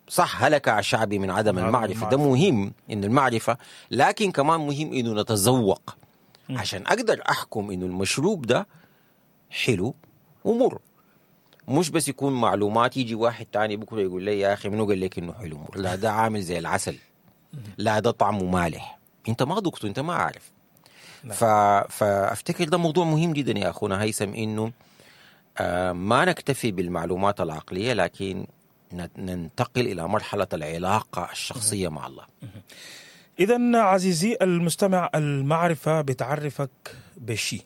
صح، هلك شعبي من عدم المعرفة. ده مهم إنه المعرفة، لكن كمان مهم إنه نتذوق عشان أقدر أحكم إنه المشروب ده حلو ومر، مش بس يكون معلومات. يجي واحد تاني بكرة يقول لي يا أخي منو قال لك إنه حلو مر؟ لا ده عامل زي العسل، لا ده طعمه مالح، أنت ما ذقته، أنت ما عارف. فأفتكر ده موضوع مهم جدا يا أخونا هيثم، إنه ما نكتفي بالمعلومات العقلية، لكن ننتقل إلى مرحلة العلاقة الشخصية مع الله. إذن عزيزي المستمع، المعرفة بتعرفك بالشيء،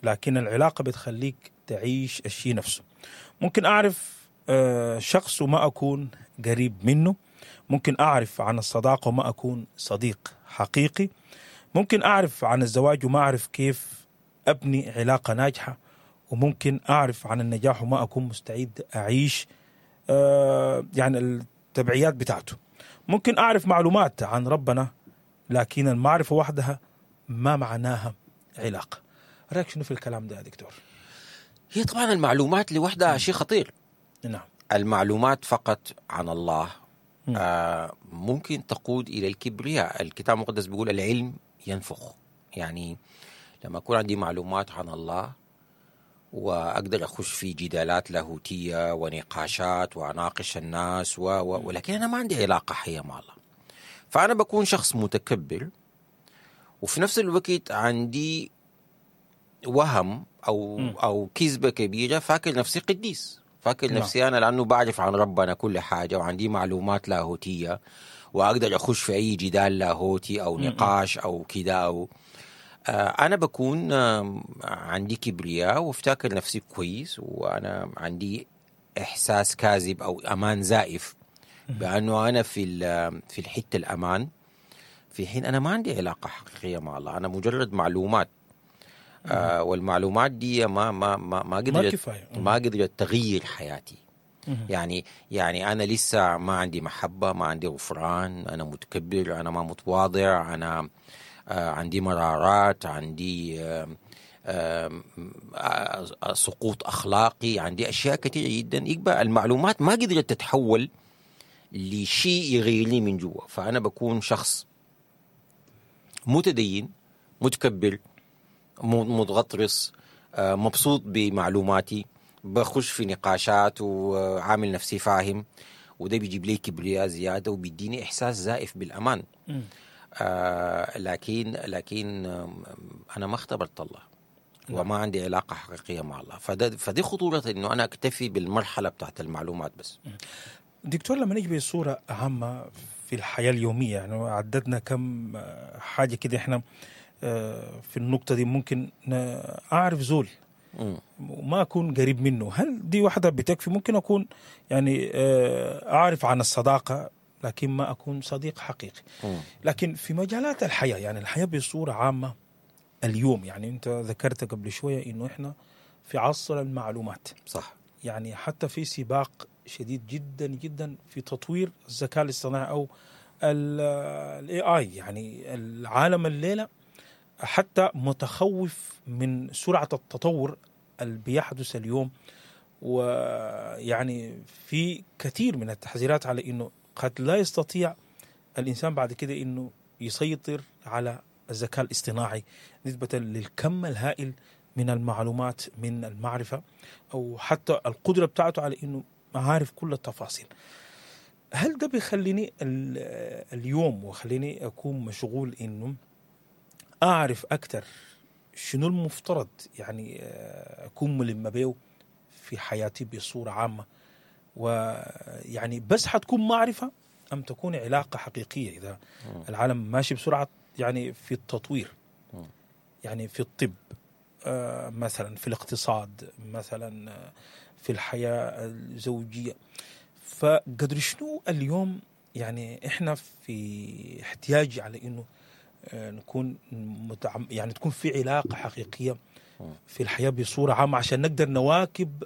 لكن العلاقة بتخليك تعيش الشيء نفسه. ممكن أعرف شخص وما أكون قريب منه، ممكن أعرف عن الصداقة وما أكون صديق حقيقي، ممكن أعرف عن الزواج وما أعرف كيف أبني علاقة ناجحة، وممكن أعرف عن النجاح وما أكون مستعد أعيش يعني التبعيات بتاعته. ممكن أعرف معلومات عن ربنا، لكن المعرفة وحدها ما معناها علاقة. رأيك شنو في الكلام ده يا دكتور؟ هي طبعا المعلومات لوحدها شيء خطير. نعم. المعلومات فقط عن الله ممكن تقود إلى الكبرياء. الكتاب المقدس بيقول العلم ينفخ. يعني لما أكون عندي معلومات عن الله وأقدر أخش في جدالات لاهوتية ونقاشات وأناقش الناس ولكن أنا ما عندي علاقة حية مع الله، فأنا بكون شخص متكبر، وفي نفس الوقت عندي وهم أو كذبة كبيرة، فاكر نفسي قديس، فاكر نفسي أنا لأنه بعرف عن ربنا كل حاجة وعندي معلومات لاهوتية وأقدر أخش في أي جدال لاهوتي أو نقاش أو كده أو أنا بكون عندي كبرياء وافتكر نفسي كويس، وأنا عندي إحساس كاذب أو أمان زائف بأنه أنا في الحتة الأمان، في حين أنا ما عندي علاقة حقيقية مع الله. أنا مجرد معلومات، والمعلومات دي ما ما ما ما قدرت ما قدرت تغير حياتي. يعني أنا لسه ما عندي محبة، ما عندي غفران، أنا متكبر، أنا ما متواضع، أنا عندي مرارات، عندي سقوط أخلاقي، عندي أشياء كثيرة جدا. يبقى المعلومات ما قدرت تتحول لشيء يغيرني من جوا، فأنا بكون شخص متدين، متكبر، متغطرس، مبسوط بمعلوماتي، بخش في نقاشات وعامل نفسي فاهم، وده بيجيب لي كبرياء زيادة وبيديني إحساس زائف بالأمان. لكن أنا ما اختبرت الله وما عندي علاقة حقيقية مع الله، فدي خطورة إنه أنا أكتفي بالمرحلة بتاعت المعلومات بس. دكتور، لما نجي بصورة عامة في الحياة اليومية، يعني عددنا كم حاجة كده إحنا في النقطة دي، ممكن أعرف زول وما أكون قريب منه، هل دي واحدة بتكفي؟ ممكن أكون يعني أعرف عن الصداقة لكن ما أكون صديق حقيقي. لكن في مجالات الحياة، يعني الحياة بصورة عامة اليوم، يعني أنت ذكرت قبل شوية إنه إحنا في عصر المعلومات، صح؟ يعني حتى في سباق شديد جدا جدا في تطوير الذكاء الاصطناعي أو ال AI. يعني العالم الليلة حتى متخوف من سرعة التطور اللي بيحدث اليوم، ويعني في كثير من التحذيرات على إنه قد لا يستطيع الإنسان بعد كده إنه يسيطر على الذكاء الاصطناعي نسبة للكم الهائل من المعلومات، من المعرفة، أو حتى القدرة بتاعته على إنه عارف كل التفاصيل. هل ده بيخليني اليوم وخليني أكون مشغول إنه أعرف أكتر شنو المفترض يعني أكون ملم بيه في حياتي بصورة عامة؟ ويعني بس حتكون معرفة أم تكون علاقة حقيقية؟ إذا العالم ماشي بسرعة يعني في التطوير، يعني في الطب مثلا، في الاقتصاد مثلا، في الحياة الزوجية، فقدر شنو اليوم يعني إحنا في احتياج على إنه نكون يعني تكون في علاقة حقيقية في الحياة بصورة عامة عشان نقدر نواكب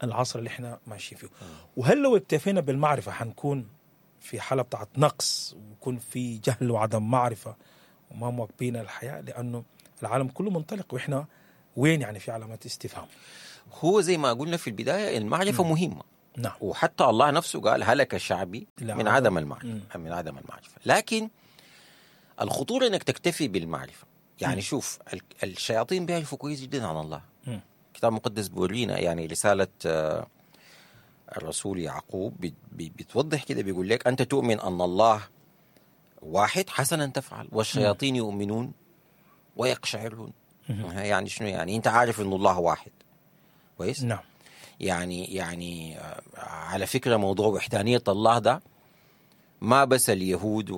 العصر اللي احنا ماشيين فيه. وهل لو اكتفينا بالمعرفة حنكون في حالة بتاعت نقص ويكون في جهل وعدم معرفة وما مواكبين الحياة، لأنه العالم كله منطلق وإحنا وين يعني في علامات استفهام. هو زي ما قلنا في البداية المعرفة مهمة. نعم. وحتى الله نفسه قال هلك شعبي من عدم المعرفة، من عدم المعرفة. لكن الخطورة انك تكتفي بالمعرفة. يعني شوف، الشياطين بيعرفوا كويس جدا عن الله. الكتاب المقدس بيورينا، يعني رسالة الرسول يعقوب بتوضح كده، بيقول لك أنت تؤمن أن الله واحد، حسنا تفعل، والشياطين يؤمنون ويقشعرون. يعني شنو يعني؟ أنت عارف أن الله واحد، كويس؟ نعم. يعني على فكرة موضوع وحدانية الله ده ما بس اليهود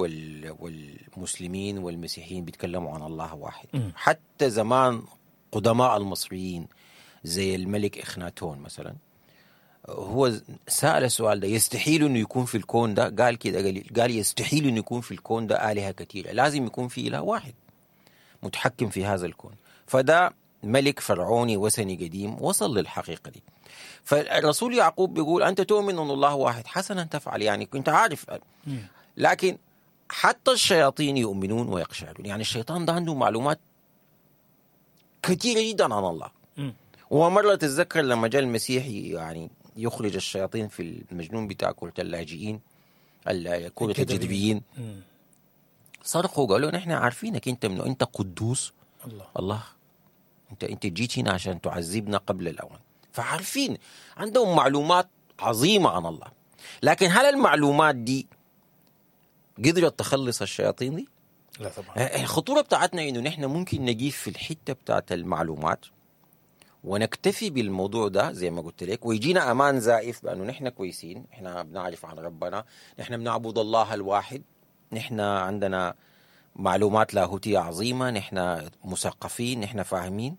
والمسلمين والمسيحيين بيتكلموا عن الله واحد. حتى زمان قدماء المصريين زي الملك إخناتون مثلا، هو سأل السؤال ده، يستحيل انه يكون في الكون ده، قال كده، قال يستحيل انه يكون في الكون ده آلهة كثيرة، لازم يكون في إله واحد متحكم في هذا الكون. فده ملك فرعوني وثني قديم وصل للحقيقة دي. فالرسول يعقوب بيقول أنت تؤمن أن الله واحد، حسنا تفعل، يعني كنت عارف. لكن حتى الشياطين يؤمنون ويقشعرون. يعني الشيطان ده عنده معلومات كثيرة جدا عن الله. ومرة تتذكر لما جاء المسيح يعني يخرج الشياطين في المجنون بتاع كرة اللاجئين، كرة الجدبيين، صرخوا قالوا نحن عارفينك انت منه، انت قدوس الله، انت جيت هنا عشان تعذبنا قبل الأوان. فعارفين، عندهم معلومات عظيمة عن الله. لكن هل المعلومات دي قدرت تخلص الشياطين دي؟ لا طبعا. الخطورة بتاعتنا انه نحن ممكن نجيب في الحتة بتاعت المعلومات ونكتفي بالموضوع ده زي ما قلت لك، ويجينا أمان زائف بأنه نحن كويسين، نحن بنعرف عن ربنا، نحن بنعبد الله الواحد، نحن عندنا معلومات لاهوتية عظيمة، نحن مثقفين، نحن فاهمين.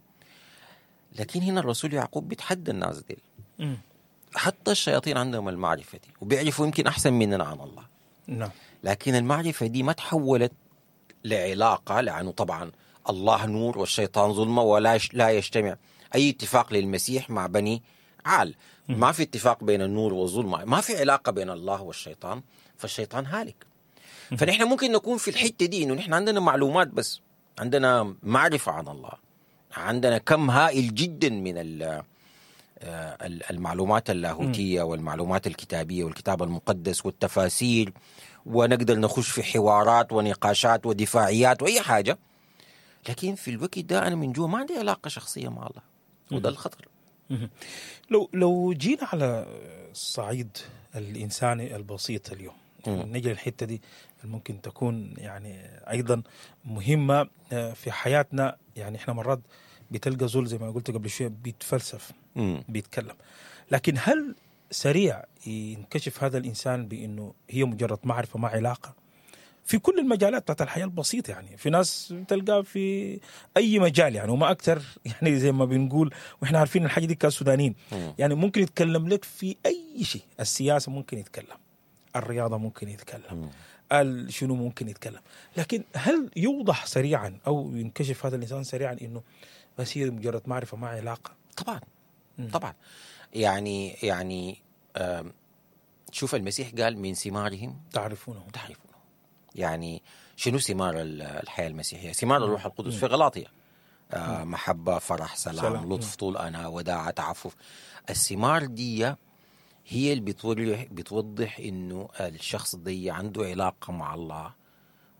لكن هنا الرسول يعقوب بيتحدى الناس دي. حتى الشياطين عندهم المعرفة دي وبيعرفوا يمكن أحسن مننا عن الله. نعم. لكن المعرفة دي ما تحولت لعلاقة، لأنه طبعا الله نور والشيطان ظلمة، ولا لا يجتمع أي اتفاق للمسيح مع بني عال. ما في اتفاق بين النور والظلمة، ما في علاقة بين الله والشيطان، فالشيطان هالك. فنحن ممكن نكون في الحتة دي إنه نحن عندنا معلومات بس، عندنا معرفة عن الله، عندنا كم هائل جدا من المعلومات اللاهوتية والمعلومات الكتابية والكتاب المقدس والتفاسير، ونقدر نخش في حوارات ونقاشات ودفاعيات وأي حاجة. لكن في الوقت ده أنا من جوا ما عندي علاقة شخصية مع الله، وده الخطر. لو جينا على الصعيد الإنساني البسيط اليوم، نجي للحتة دي ممكن تكون يعني أيضا مهمة في حياتنا. يعني إحنا مرات بتلقى زول زي ما قلت قبل شوية بيتفلسف، بيتكلم، لكن هل سريع ينكشف هذا الإنسان بأنه هي مجرد معرفة ما علاقة؟ في كل المجالات بتاعت الحياة البسيطة، يعني في ناس تلقى في أي مجال يعني، وما أكثر يعني زي ما بنقول وإحنا عارفين الحاجة دي كسودانيين، يعني ممكن يتكلم لك في أي شيء. السياسة ممكن يتكلم، الرياضة ممكن يتكلم، شنو ممكن يتكلم، لكن هل يوضح سريعا أو ينكشف هذا الإنسان سريعا إنه بس هي مجرد معرفة ما علاقة؟ طبعا. طبعا. يعني شوف المسيح قال من ثمارهم تعرفونه. يعني شنو ثمار الحياة المسيحية؟ ثمار الروح القدس في غلاطية، محبة، فرح، سلام، لطف، طول أنا، وداعة، تعفف. الثمار دي هي اللي بتوضح إنه الشخص دي عنده علاقة مع الله،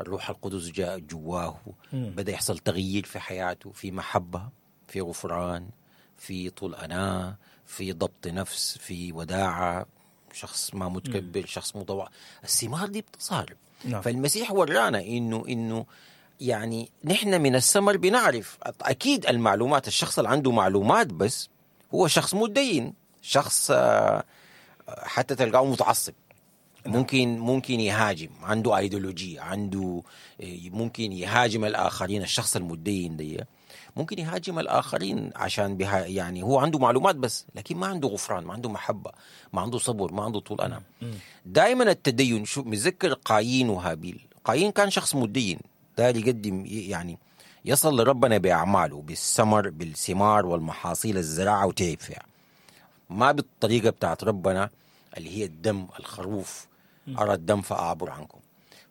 الروح القدس جاء جواه، بدأ يحصل تغيير في حياته، في محبة، في غفران، في طول أنا، في ضبط نفس، في وداعة، شخص ما متكبر، شخص متواضع. الثمار دي بتظهر. نعم. فالمسيح ورانا إنه يعني نحن من الثمر بنعرف أكيد المعلومات. الشخص اللي عنده معلومات بس هو شخص متدين، شخص حتى تلقاه متعصب، ممكن يهاجم، عنده ايديولوجية، عنده ممكن يهاجم الآخرين. الشخص المتدين دي ممكن يهاجم الآخرين عشان بها، يعني هو عنده معلومات بس، لكن ما عنده غفران، ما عنده محبة، ما عنده صبر، ما عنده طول أنا. دائما التدين، شو متذكر قايين وهابيل؟ قايين كان شخص متدين، ده يقدم يعني يصل لربنا بأعماله، بالثمر، بالثمار والمحاصيل، الزراعة، وتعب فيها، ما بالطريقة بتاعت ربنا اللي هي الدم، الخروف، أرى الدم فأعبر عنكم.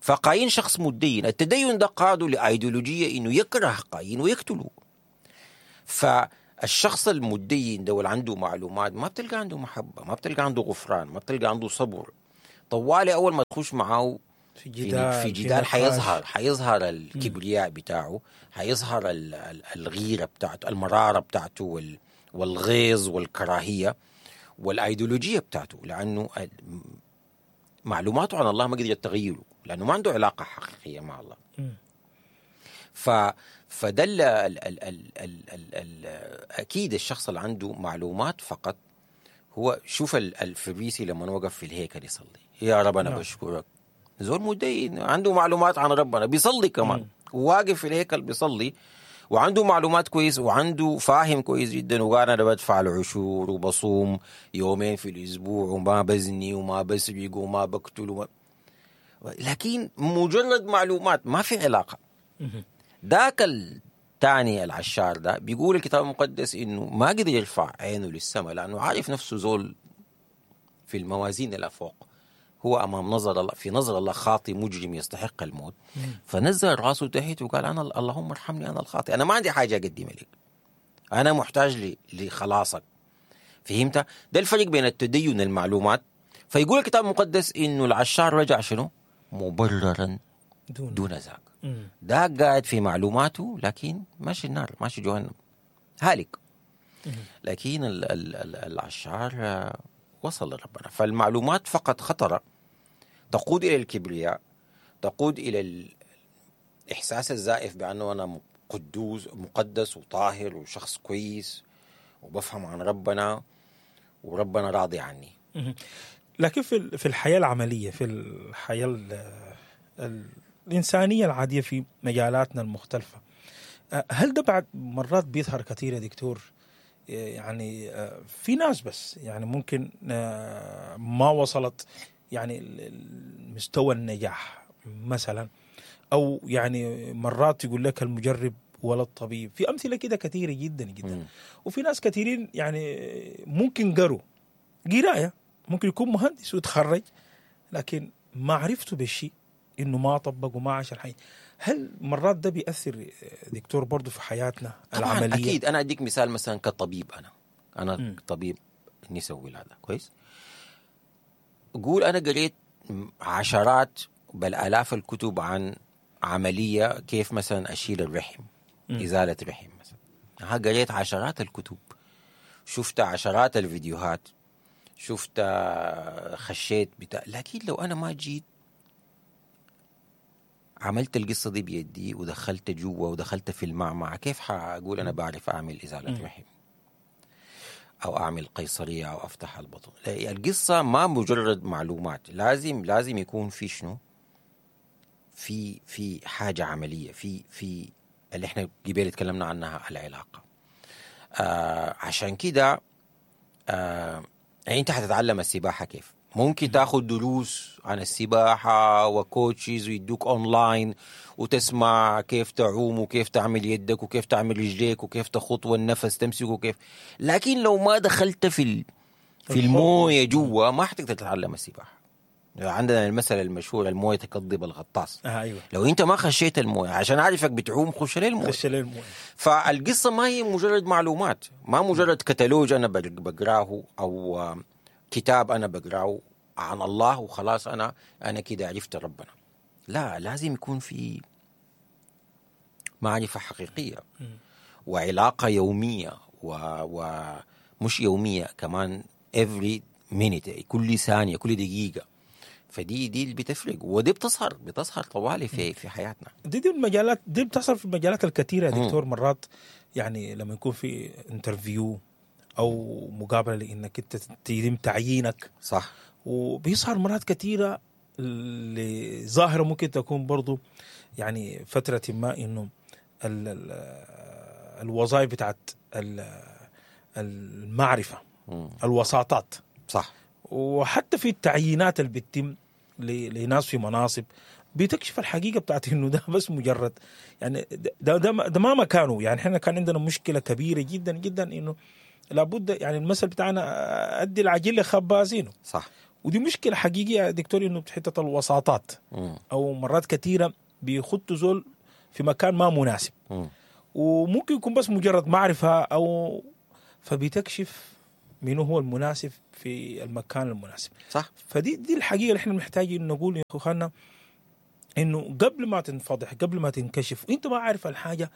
فقايين شخص متدين، التدين ده قاده لأيديولوجية إنه يكره قايين ويقتله. الشخص المتدين ده واللي عنده معلومات ما بتلقى عنده محبة، ما بتلقى عنده غفران، ما بتلقى عنده صبر. طوالي اول ما تخش معاه في جدال، في جدال حيظهر الكبرياء بتاعه، حيظهر الغيرة بتاعته، المرارة بتاعته، والغيظ والكراهية والايديولوجيه بتاعته، لانه معلوماته عن الله ما قدرت تغيره، لانه ما عنده علاقة حقيقية مع الله. فدل ال ال ال ال ال ال اكيد الشخص اللي عنده معلومات فقط هو، شوف الفريسي لما وقف في الهيكل يصلي، يا رب انا بشكرك، زول مدين عنده معلومات عن ربنا، بيصلي كمان، واقف في الهيكل بيصلي وعنده معلومات كويس وعنده فاهم كويس جدا، وقال انا بدفع العشور وبصوم يومين في الاسبوع وما بزني وما بسرق وما بقتل لكن مجرد معلومات، ما في علاقة. ذاك الثاني العشار ده بيقول الكتاب المقدس انه ما قدر يرفع عينه للسماء، لانه عارف نفسه زول في الموازين اللي فوق، هو امام نظر الله، في نظر الله خاطي مجرم يستحق الموت. فنزل راسه تحت وقال انا اللهم ارحمني انا الخاطئ، انا ما عندي حاجة اقدمها لك، انا محتاج لخلاصك. فهمت؟ ده الفرق بين التدين المعلومات. فيقول الكتاب المقدس انه العشار رجع شنو؟ مبررا دون ذاك. ده قاعد في معلوماته لكن ماشي النار، ماشي جهنم، هالك. لكن العشار وصل لربنا. فالمعلومات فقط خطرة، تقود إلى الكبرياء، تقود إلى الإحساس الزائف بأنه أنا قدوس مقدس وطاهر وشخص كويس وبفهم عن ربنا وربنا راضي عني. لكن في الحياة العملية، في الحياة الإنسانية العادية، في مجالاتنا المختلفة، هل ده بعد مرات بيظهر كثير يا دكتور؟ يعني في ناس بس يعني ممكن ما وصلت يعني مستوى النجاح مثلا، أو يعني مرات يقول لك المجرب ولا الطبيب، في أمثلة كده كثيرة جدا جدا. وفي ناس كثيرين يعني ممكن قروا قراية، ممكن يكون مهندس ويتخرج، لكن معرفته بالشيء إنه ما طبق وما عاش الحياة. هل مرات ده بيأثر دكتور برضو في حياتنا العملية؟ أكيد. أنا أديك مثال مثلا كطبيب، أنا طبيب نساء ولادة، كويس؟ قول أنا قريت عشرات بل آلاف الكتب عن عملية كيف مثلا أشيل الرحم، إزالة رحم مثلا. قريت عشرات الكتب، شفت عشرات الفيديوهات، شفت خشيت بتاع، لكن لو أنا ما جيت عملت القصة دي بيدي ودخلت جوا ودخلت في المعمعة، كيف حأقول أنا بعرف أعمل إزالة رحم أو أعمل قيصرية أو أفتح البطن؟ القصة ما مجرد معلومات، لازم يكون في شنو، في حاجة عملية، في اللي احنا قبل تكلمنا عنها، العلاقة. عشان كده يعني انت حتتعلم السباحة كيف؟ ممكن تاخذ دروس عن السباحة و coaches ويدوك اونلاين وتسمع كيف تعوم وكيف تعمل يدك وكيف تعمل رجليك وكيف تخط والنفس تمسكه وكيف، لكن لو ما دخلت في المويه جوا ما حتقدر تتعلم السباحة. عندنا المثل المشهور، المويه تكذب الغطاس. أيوة. لو انت ما خشيت المويه عشان اعرفك بتعوم، خش للمويه. فالقصة ما هي مجرد معلومات، ما مجرد كتالوج انا بقراه او كتاب انا بقراه عن الله وخلاص انا كده عرفت ربنا. لا، لازم يكون في معرفة حقيقية وعلاقة يومية، ومش يومية كمان، every minute، كل ثانية، كل دقيقة. فدي دي اللي بتفرق، ودي بتظهر طوالي في حياتنا. دي المجالات دي بتظهر في المجالات الكثيرة يا دكتور. مرات يعني لما يكون في interview او مقابله لانك انت تتم تعيينك، صح، وبيظهر مرات كثيرة لظاهره ممكن تكون برضو يعني فترة ما انه الوظائف بتاعت المعرفة، الوساطات، صح، وحتى في التعيينات اللي بتتم لناس في مناصب بتكشف الحقيقة بتاعت انه ده بس مجرد يعني ده ما مكانه. يعني احنا كان عندنا مشكلة كبيرة جدا جدا انه لابد، يعني المثل بتاعنا ادي العجل لخبازينه، صح، ودي مشكلة حقيقية يا دكتور، انه حتة الوساطات او مرات كثيرة بيخطوا زول في مكان ما مناسب، وممكن يكون بس مجرد معرفة او فبتكشف منو هو المناسب في المكان المناسب. صح. فدي دي الحقيقة اللي احنا محتاجين نقول يا اخواننا، انه قبل ما تنفضح، قبل ما تنكشف، وانت ما عارف الحاجة،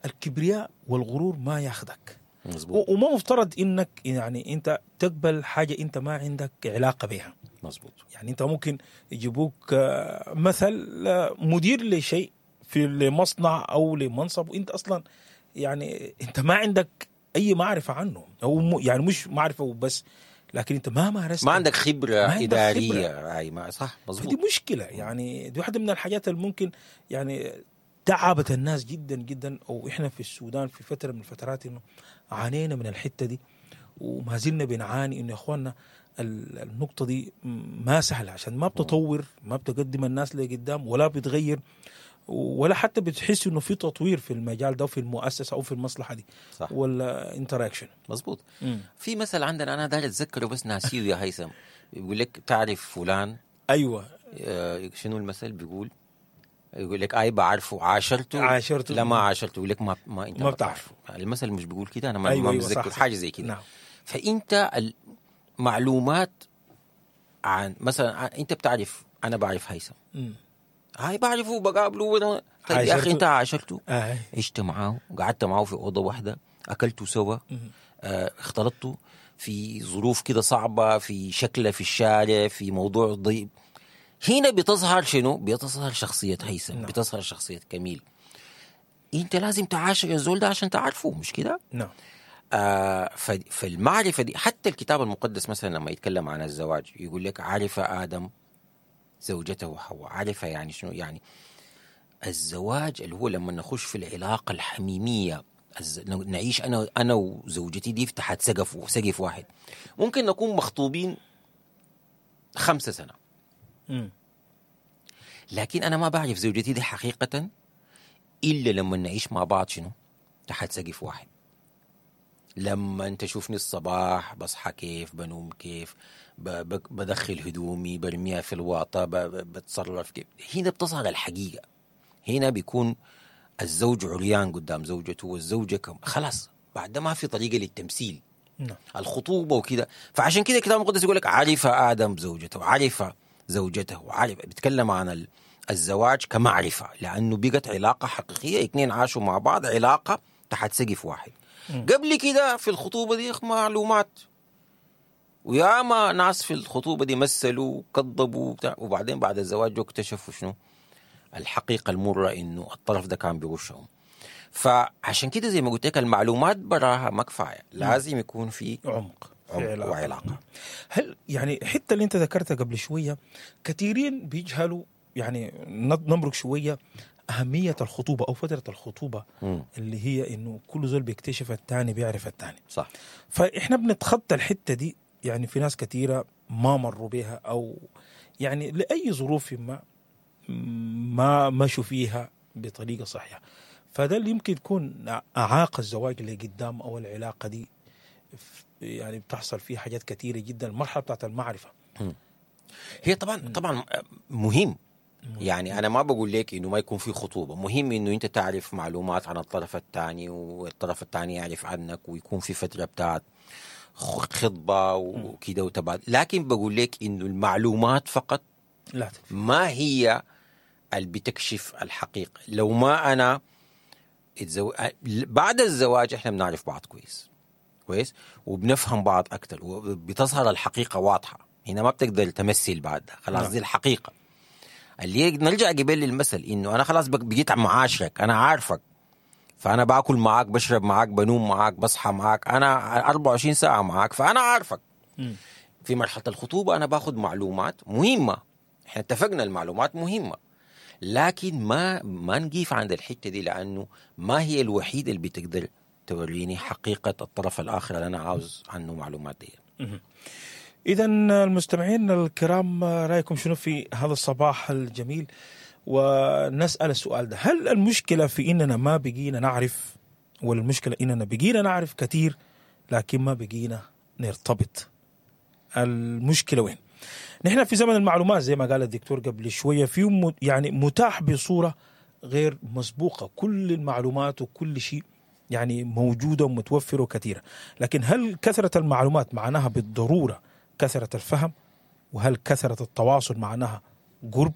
الكبرياء والغرور ما ياخدك. مظبوط. وما مفترض انك يعني انت تقبل حاجة انت ما عندك علاقة بها. مظبوط. يعني انت ممكن يجيبوك مثل مدير لشيء في لمصنع او لمنصب، وانت اصلا يعني انت ما عندك اي معرفة عنه، او يعني مش معرفة وبس، لكن انت ما مارست، ما عندك خبره، ما عندك ادارية. خبرة. اي ما صح. مظبوط. فدي مشكلة، يعني دي واحدة من الحاجات اللي ممكن يعني تعبت الناس جدا جدا. او احنا في السودان في فترة من الفترات انه عانينا من الحتة دي، وما زلنا بنعاني. انه يا اخواننا النقطة دي ما سهلة، عشان ما بتطور، ما بتقدم الناس لقدام، ولا بتغير، ولا حتى بتحس انه في تطوير في المجال ده وفي المؤسسة او في المصلحة دي. صح. ولا انت رايك شنو؟ مظبوط. في مثل عندنا انا داير اتذكره بس ناسيه يا هيثم، بيقول لك تعرف فلان. ايوه. شنو المثل بيقول؟ يقول لك اي بعرفه، عاشرته. عاشرته. لا ما عاشرته، يقول لك ما انت ما بتعرفه. المثل مش بيقول كده، انا ما أيوة ما أيوة متذكر صح. حاجة زي كده. نعم. فانت المعلومات عن مثلا انت بتعرف، انا بعرف هيثم. هاي بعرفه وبقابله. طيب يا اخي انت عاشرته، عشت معاه، قعدت معاه في اوضة واحدة، اكلتوا سوا، اختلطتوا في ظروف كده صعبة، في شكله في الشارع، في موضوع ضيق. هنا بتظهر شنو؟ بتظهر شخصية هيثم. نعم. بتظهر شخصية كميل. انت لازم تعاشر الزول ده عشان تعرفه، مش كده؟ نعم. فالمعرفه دي، حتى الكتاب المقدس مثلا لما يتكلم عن الزواج يقول لك عرف ادم زوجته حواء. عرف يعني شنو؟ يعني الزواج اللي هو لما نخش في العلاقة الحميمية، نعيش انا وزوجتي دي تحت سقف واحد. ممكن نكون مخطوبين 5 سنة، لكن انا ما بعرف زوجتي دي حقيقة الا لما نعيش مع بعض شنو؟ تحت سقف واحد. لما انت تشوفني الصباح بصحى كيف، بنوم كيف، بدخل هدومي برميها في الواطة، بتصرف كيف، هنا بتظهر الحقيقة. هنا بيكون الزوج عريان قدام زوجته، والزوجة خلاص بعد ما في طريقة للتمثيل. نعم. الخطوبة وكده. فعشان كده الكتاب المقدس يقول لك عرف آدم زوجته، عرف زوجته، عرف. بيتكلم عن الزواج كمعرفة، لأنه بقت علاقة حقيقية، اثنين عاشوا مع بعض علاقة تحت سقف واحد. قبل كده في الخطوبة دي معلومات، وياما ناس في الخطوبة دي مثلوا وكذبوا، وبعدين بعد الزواج اكتشفوا شنو الحقيقة المرة، إنه الطرف ده كان بيغشهم. فعشان كده زي ما قلت لك المعلومات براها ما كفاية، لازم يكون في عمق وعلاقة. هل يعني حتى اللي انت ذكرتها قبل شوية، كثيرين بيجهلوا، يعني نمرق شوية أهمية الخطوبة أو فترة الخطوبة، اللي هي إنه كل زول بيكتشف الثاني، بيعرف الثاني. صح. فإحنا بنتخطى الحتة دي، يعني في ناس كثيرة ما مروا بها، أو يعني لأي ظروف ما مشوا فيها بطريقة صحيحة. فده اللي يمكن يكون أعاق الزواج اللي قدام، أو العلاقة دي يعني بتحصل فيها حاجات كثيرة جدا. المرحلة بتاعت المعرفة هي طبعا مهم. يعني أنا ما بقول لك إنه ما يكون في خطوبة، مهم إنه أنت تعرف معلومات عن الطرف الثاني، والطرف الثاني يعرف عنك، ويكون في فترة بتاعت خطبة وكده وتبادل. لكن بقول لك إنه المعلومات فقط لا تكفي، ما هي اللي بتكشف الحقيقة. لو ما أنا بعد الزواج إحنا بنعرف بعض كويس كويس، وبنفهم بعض أكتر، وبتظهر الحقيقة واضحة. هنا ما بتقدر تمثل بعد، خلاص دي الحقيقة. اللي نرجع قبل للمثل إنه أنا خلاص بقيت معاشرك، أنا عارفك، فأنا باكل معاك، بشرب معاك، بنوم معاك، بصحى معاك، أنا 24 ساعة معاك، فأنا عارفك. في مرحلة الخطوبة أنا باخد معلومات مهمة، إحنا اتفقنا المعلومات مهمة، لكن ما نقيف عند الحتة دي، لأنه ما هي الوحيدة اللي بتقدر توريني حقيقة الطرف الآخر اللي أنا عاوز عنه معلومات دي. إذا المستمعين الكرام، رأيكم شنو في هذا الصباح الجميل؟ ونسأل السؤال ده: هل المشكلة في إننا ما بقينا نعرف، ولا المشكلة إننا بقينا نعرف كثير لكن ما بقينا نرتبط؟ المشكلة وين؟ نحن في زمن المعلومات زي ما قال الدكتور قبل شوية، في يعني متاح بصورة غير مسبوقة، كل المعلومات وكل شيء يعني موجودة ومتوفره وكثيره، لكن هل كثرة المعلومات معناها بالضرورة كثرة الفهم؟ وهل كثرة التواصل معناها قرب؟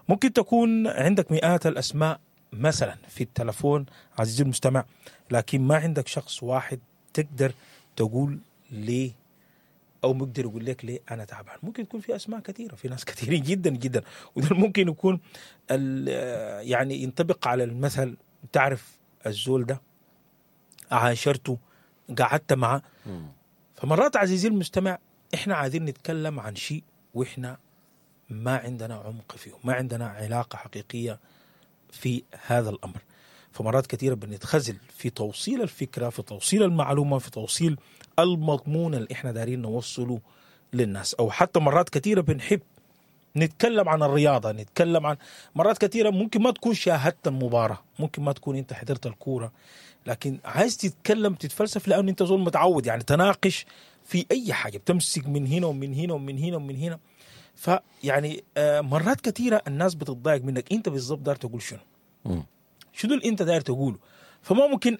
ممكن تكون عندك مئات الاسماء مثلا في التلفون عزيزي المستمع، لكن ما عندك شخص واحد تقدر تقول ليه او مقدر يقول لك ليه انا تعبان. ممكن يكون في اسماء كثيرة، في ناس كثيرين جدا جدا، وده ممكن يكون يعني ينطبق على المثل، تعرف الزول ده، عاشرته، قعدت معه. فمرات عزيزي المستمع احنا عايزين نتكلم عن شيء واحنا ما عندنا عمق فيه، ما عندنا علاقة حقيقية في هذا الأمر. فمرات كثيرة بنتخزل في توصيل الفكرة، في توصيل المعلومة، في توصيل المضمون اللي احنا دارين نوصله للناس. أو حتى مرات كثيرة بنحب نتكلم عن الرياضة، نتكلم عن مرات كثيرة ممكن ما تكون شاهدت المباراة، ممكن ما تكون انت حضرت الكورة، لكن عايز تتكلم تتفلسف لأنه انت زول متعود يعني تناقش في أي حاجة، بتمسك من هنا ومن هنا ومن هنا ومن هنا. فيعني مرات كثيرة الناس بتتضايق منك، انت بالضبط دار تقول شنو، شنو اللي انت داير تقوله. فما ممكن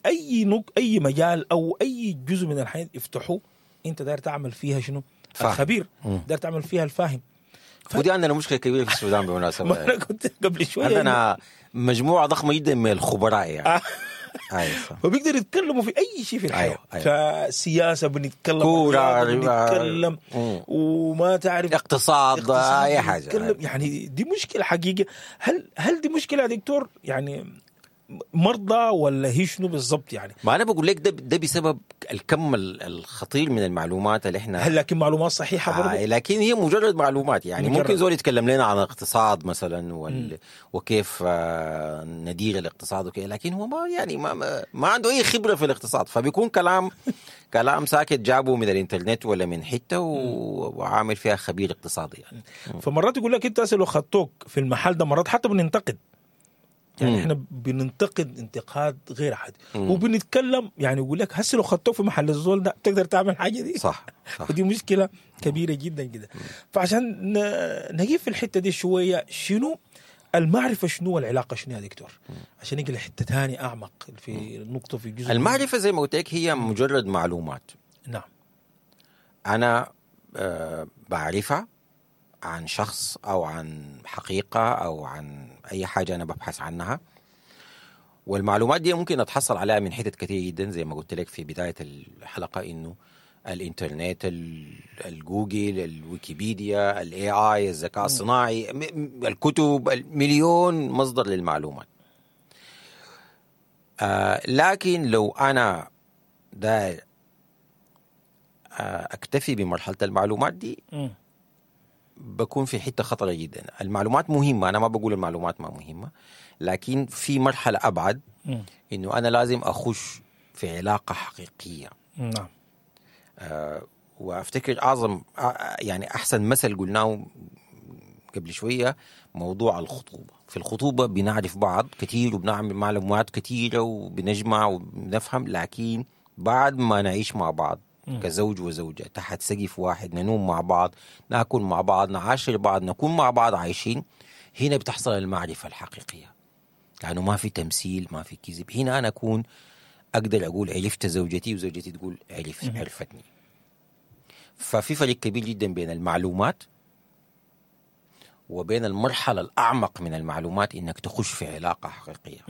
اي مجال او اي جزء من الحياة يفتحوه انت داير تعمل فيها شنو؟ الخبير، داير تعمل فيها الفاهم. ودي عندنا مشكلة كبيرة في السودان بالمناسبة. ما انا كنت قبل شوية عندنا مجموعة ضخمة جدا من الخبراء يعني. فبيقدر يتكلموا في اي شيء في الحياة. أيوة. فسياسه بنتكلم، كورة بنتكلم، وما تعرف اقتصاد، اي حاجة. يعني دي مشكلة حقيقية. هل دي مشكلة يا دكتور؟ يعني مرضى ولا هي شنو بالضبط يعني؟ ما انا بقول لك ده بسبب الكم الخطير من المعلومات اللي احنا. هل لكن معلومات صحيحه برضه؟ لكن هي مجرد معلومات يعني. مجرد. ممكن زول يتكلم لنا عن الاقتصاد مثلا وكيف ندير الاقتصاد وكذا، لكن هو ما يعني ما عنده اي خبره في الاقتصاد، فبيكون كلام ساكت جابه من الانترنت ولا من حتة وعامل فيها خبير اقتصادي يعني. فمرات يقول لك انت لو خدتوك في المحل ده، مرات حتى بننتقد يعني. احنا بننتقد انتقاد غير عادي، وبنتكلم يعني يقول لك هسه لو خدتوه في محل الزول ده تقدر تعمل حاجة دي. صح. ودي مشكلة كبيرة جدا جدا. فعشان نجيب في الحتة دي شوية، شنو المعرفة، شنو العلاقة، شنو يا دكتور؟ عشان نجي لحته ثانية اعمق في النقطة في جزء المعرفة. زي ما قلت لك هي مجرد معلومات. نعم. انا بعرفها عن شخص أو عن حقيقة أو عن أي حاجة أنا ببحث عنها، والمعلومات دي ممكن أتحصل عليها من حتت كتير جدا، زي ما قلت لك في بداية الحلقة إنه الإنترنت، الجوجل، الويكيبيديا، ال AI، الذكاء الصناعي، الكتب، مليون مصدر للمعلومات. لكن لو أنا داير أكتفي بمرحلة المعلومات دي، بكون في حتة خطرة جدا. المعلومات مهمة، أنا ما بقول المعلومات ما مهمة، لكن في مرحلة أبعد إنه أنا لازم أخش في علاقة حقيقية. نعم. وأفتكر أعظم يعني أحسن مثل قلناه قبل شوية موضوع الخطوبة. في الخطوبة بنعرف بعض كثير وبنعمل معلومات كثيرة وبنجمع وبنفهم، لكن بعد ما نعيش مع بعض كزوج وزوجة تحت سقف واحد، ننوم مع بعض، ناكل مع بعض، نعاشر بعض، نكون مع بعض عايشين، هنا بتحصل المعرفة الحقيقية، لأنه يعني ما في تمثيل، ما في كذب. هنا أنا أكون أقدر أقول عرفت زوجتي، وزوجتي تقول عرفتني. ففي فرق كبير جدا بين المعلومات وبين المرحلة الأعمق من المعلومات، إنك تخش في علاقة حقيقية.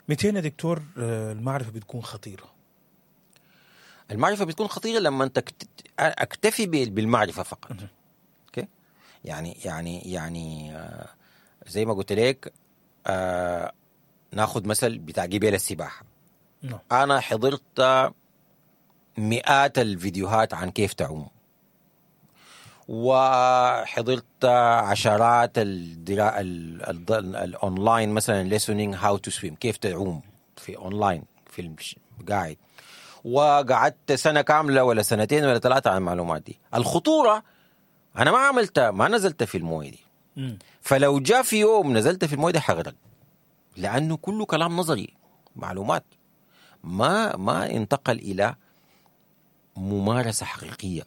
200 يا دكتور المعرفة بتكون خطيرة. المعرفة بتكون خطيرة لما أنت أكتفي بالمعرفة فقط. okay؟ يعني زي ما قلت لك، ناخذ مثل بتاع جبال السباحة. أنا حضرت مئات الفيديوهات عن كيف تعوم، وحضرت عشرات الاونلاين مثلا listening how to swim، كيف تعوم في اونلاين في قاعد، وقعدت سنة كاملة ولا سنتين ولا ثلاثة على المعلومات دي. الخطورة أنا ما عملتها، ما نزلت في الموية دي. فلو جاء في يوم نزلت في الموية دي حغرق، لأنه كله كلام نظري، معلومات ما انتقل إلى ممارسة حقيقية،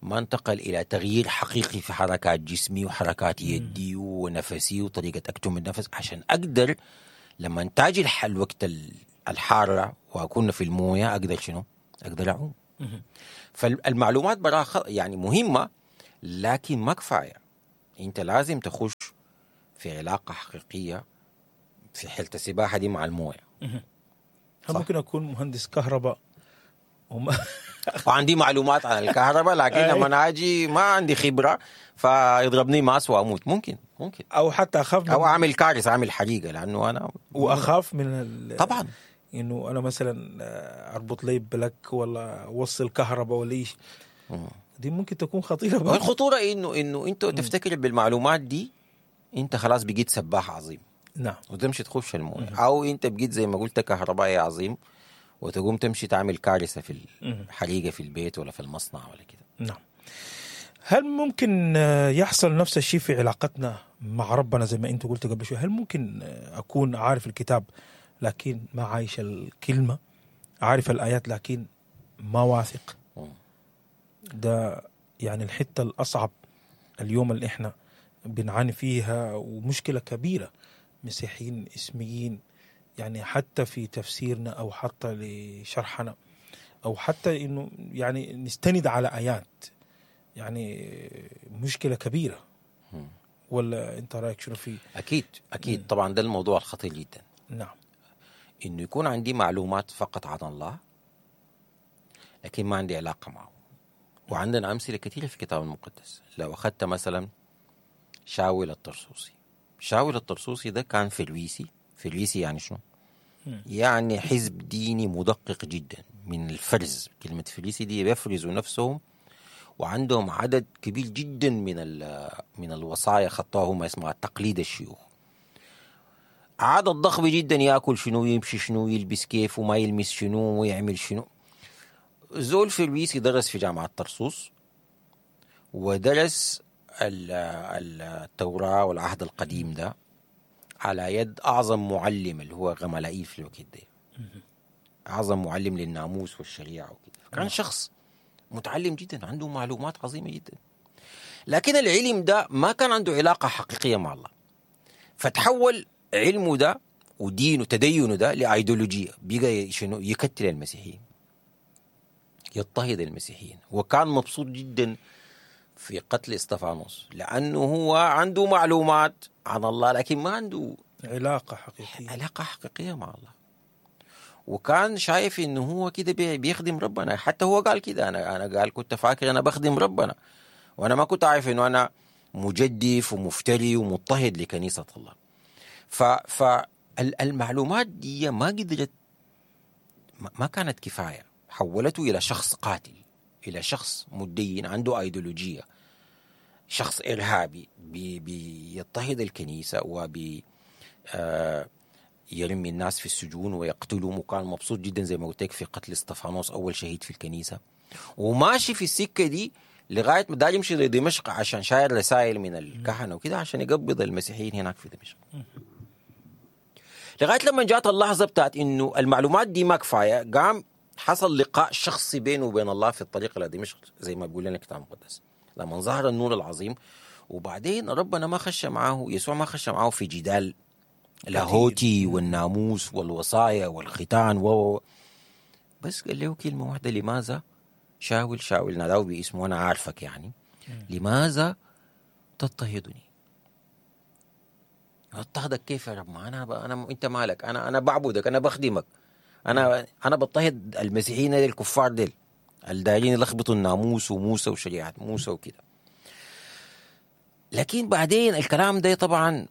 ما انتقل إلى تغيير حقيقي في حركات جسمي وحركات يدي ونفسي وطريقة أكتم النفس، عشان أقدر لما تاجي الوقت الحارة واكون في المويه اقدر شنو؟ اقدر اعوم. فالمعلومات براها يعني مهمة، لكن ما كفاية. انت لازم تخش في علاقة حقيقية في حاله السباحة دي مع المويه. هل ممكن اكون مهندس كهرباء وعندي معلومات عن الكهرباء، لكن لما اجي ما عندي خبره فيضربني ماس واموت؟ ممكن او حتى اخاف، او اعمل كارثة، اعمل حريقة، لانه انا واخاف من طبعا انه انا مثلا اربط لي plug ولا اوصل كهرباء ولا ايش، دي ممكن تكون خطيرة. الخطورة انه انت تفتكر بالمعلومات دي انت خلاص بقيت سباح عظيم، نعم، وتمشي تخش المويه، او انت بقيت زي ما قلت كهربائي عظيم وتقوم تمشي تعمل كارثة في الحريقه في البيت ولا في المصنع ولا كده. نعم. هل ممكن يحصل نفس الشيء في علاقتنا مع ربنا زي ما انت قلت قبل شوي؟ هل ممكن اكون عارف الكتاب لكن ما عايش الكلمة، عارف الايات لكن ما واثق؟ ده يعني الحتة الاصعب اليوم اللي احنا بنعاني فيها، ومشكلة كبيرة مسيحيين اسميين، يعني حتى في تفسيرنا او حتى لشرحنا او حتى انه يعني نستند على ايات، يعني مشكلة كبيرة. ولا انت رايك شنو فيه؟ اكيد اكيد. طبعا ده الموضوع الخطير جدا. نعم، انه يكون عندي معلومات فقط عن الله لكن ما عندي علاقة معه. وعندنا امثلة كثيرة في الكتاب المقدس. لو اخذت مثلا شاول الطرسوسي، شاول الطرسوسي ده كان فريسي. فريسي يعني شنو؟ يعني حزب ديني مدقق جدا من الفرز. كلمة فريسي دي بيفرزوا نفسهم، وعندهم عدد كبير جدا من الوصايا خطوها هم، اسمها تقليد الشيوخ. عدد ضخم جدا، ياكل شنو، يمشي شنو، يلبس كيف، وما يلمس شنو، ويعمل شنو. زول فريسي درس في جامعة طرسوس، ودرس التوراة والعهد القديم ده على يد أعظم معلم اللي هو غملائيل في الوقت ده، أعظم معلم للناموس والشريعة وكده. كان شخص متعلم جدا، عنده معلومات عظيمة جدا، لكن العلم ده ما كان عنده علاقة حقيقية مع الله. فتحول علمه ده ودينه تدينه ده لأيديولوجية، بقى شنو؟ يكتل المسيحيين، يضطهد المسيحيين. وكان مبسوط جدا في قتل استفانوس، لأنه هو عنده معلومات عن الله لكن ما عنده علاقة حقيقية، علاقة حقيقية مع الله. وكان شايف إنه هو كده بيخدم ربنا. حتى هو قال كده، أنا قال كنت فاكر أنا بخدم ربنا، وأنا ما كنت عارف إنه أنا مجدف ومفتري ومضطهد لكنيسة الله. فالمعلومات دي ما قدرت، ما كانت كفاية، حولته إلى شخص قاتل، إلى شخص مدين عنده أيديولوجية، شخص إرهابي بيضطهد الكنيسة وبي يرمي الناس في السجون ويقتلهم. وكان مبسوط جدا زي ما قلت لك في قتل استفانوس أول شهيد في الكنيسة، وماشي في السكة دي لغاية ما داير يمشي لدمشق عشان شاير رسائل من الكهنة وكده عشان يقبض المسيحيين هناك في دمشق. لغاية لما جات اللحظة بتاعت إنه المعلومات دي ما كفاية، قام حصل لقاء شخصي بينه وبين الله في الطريق إلى دمشق زي ما بيقول لنا الكتاب المقدس، لما ظهر النور العظيم. وبعدين ربنا ما خش معه، يسوع ما خش معه في جدال لاهوتي والناموس والوصايا والختان بس قال له كلمة واحدة: لماذا شاول شاول، ناداه باسمه، أنا عارفك يعني، لماذا تضطهدني؟ اضطهدك كيف يا رب؟ ما أنا أنت مالك، أنا بعبدك، أنا بخدمك، أنا بضطهد المسيحيين الكفار ديل الدايرين يلخبطوا الناموس وموسى وشريعة موسى وكده. لكن بعدين الكلام ده طبعا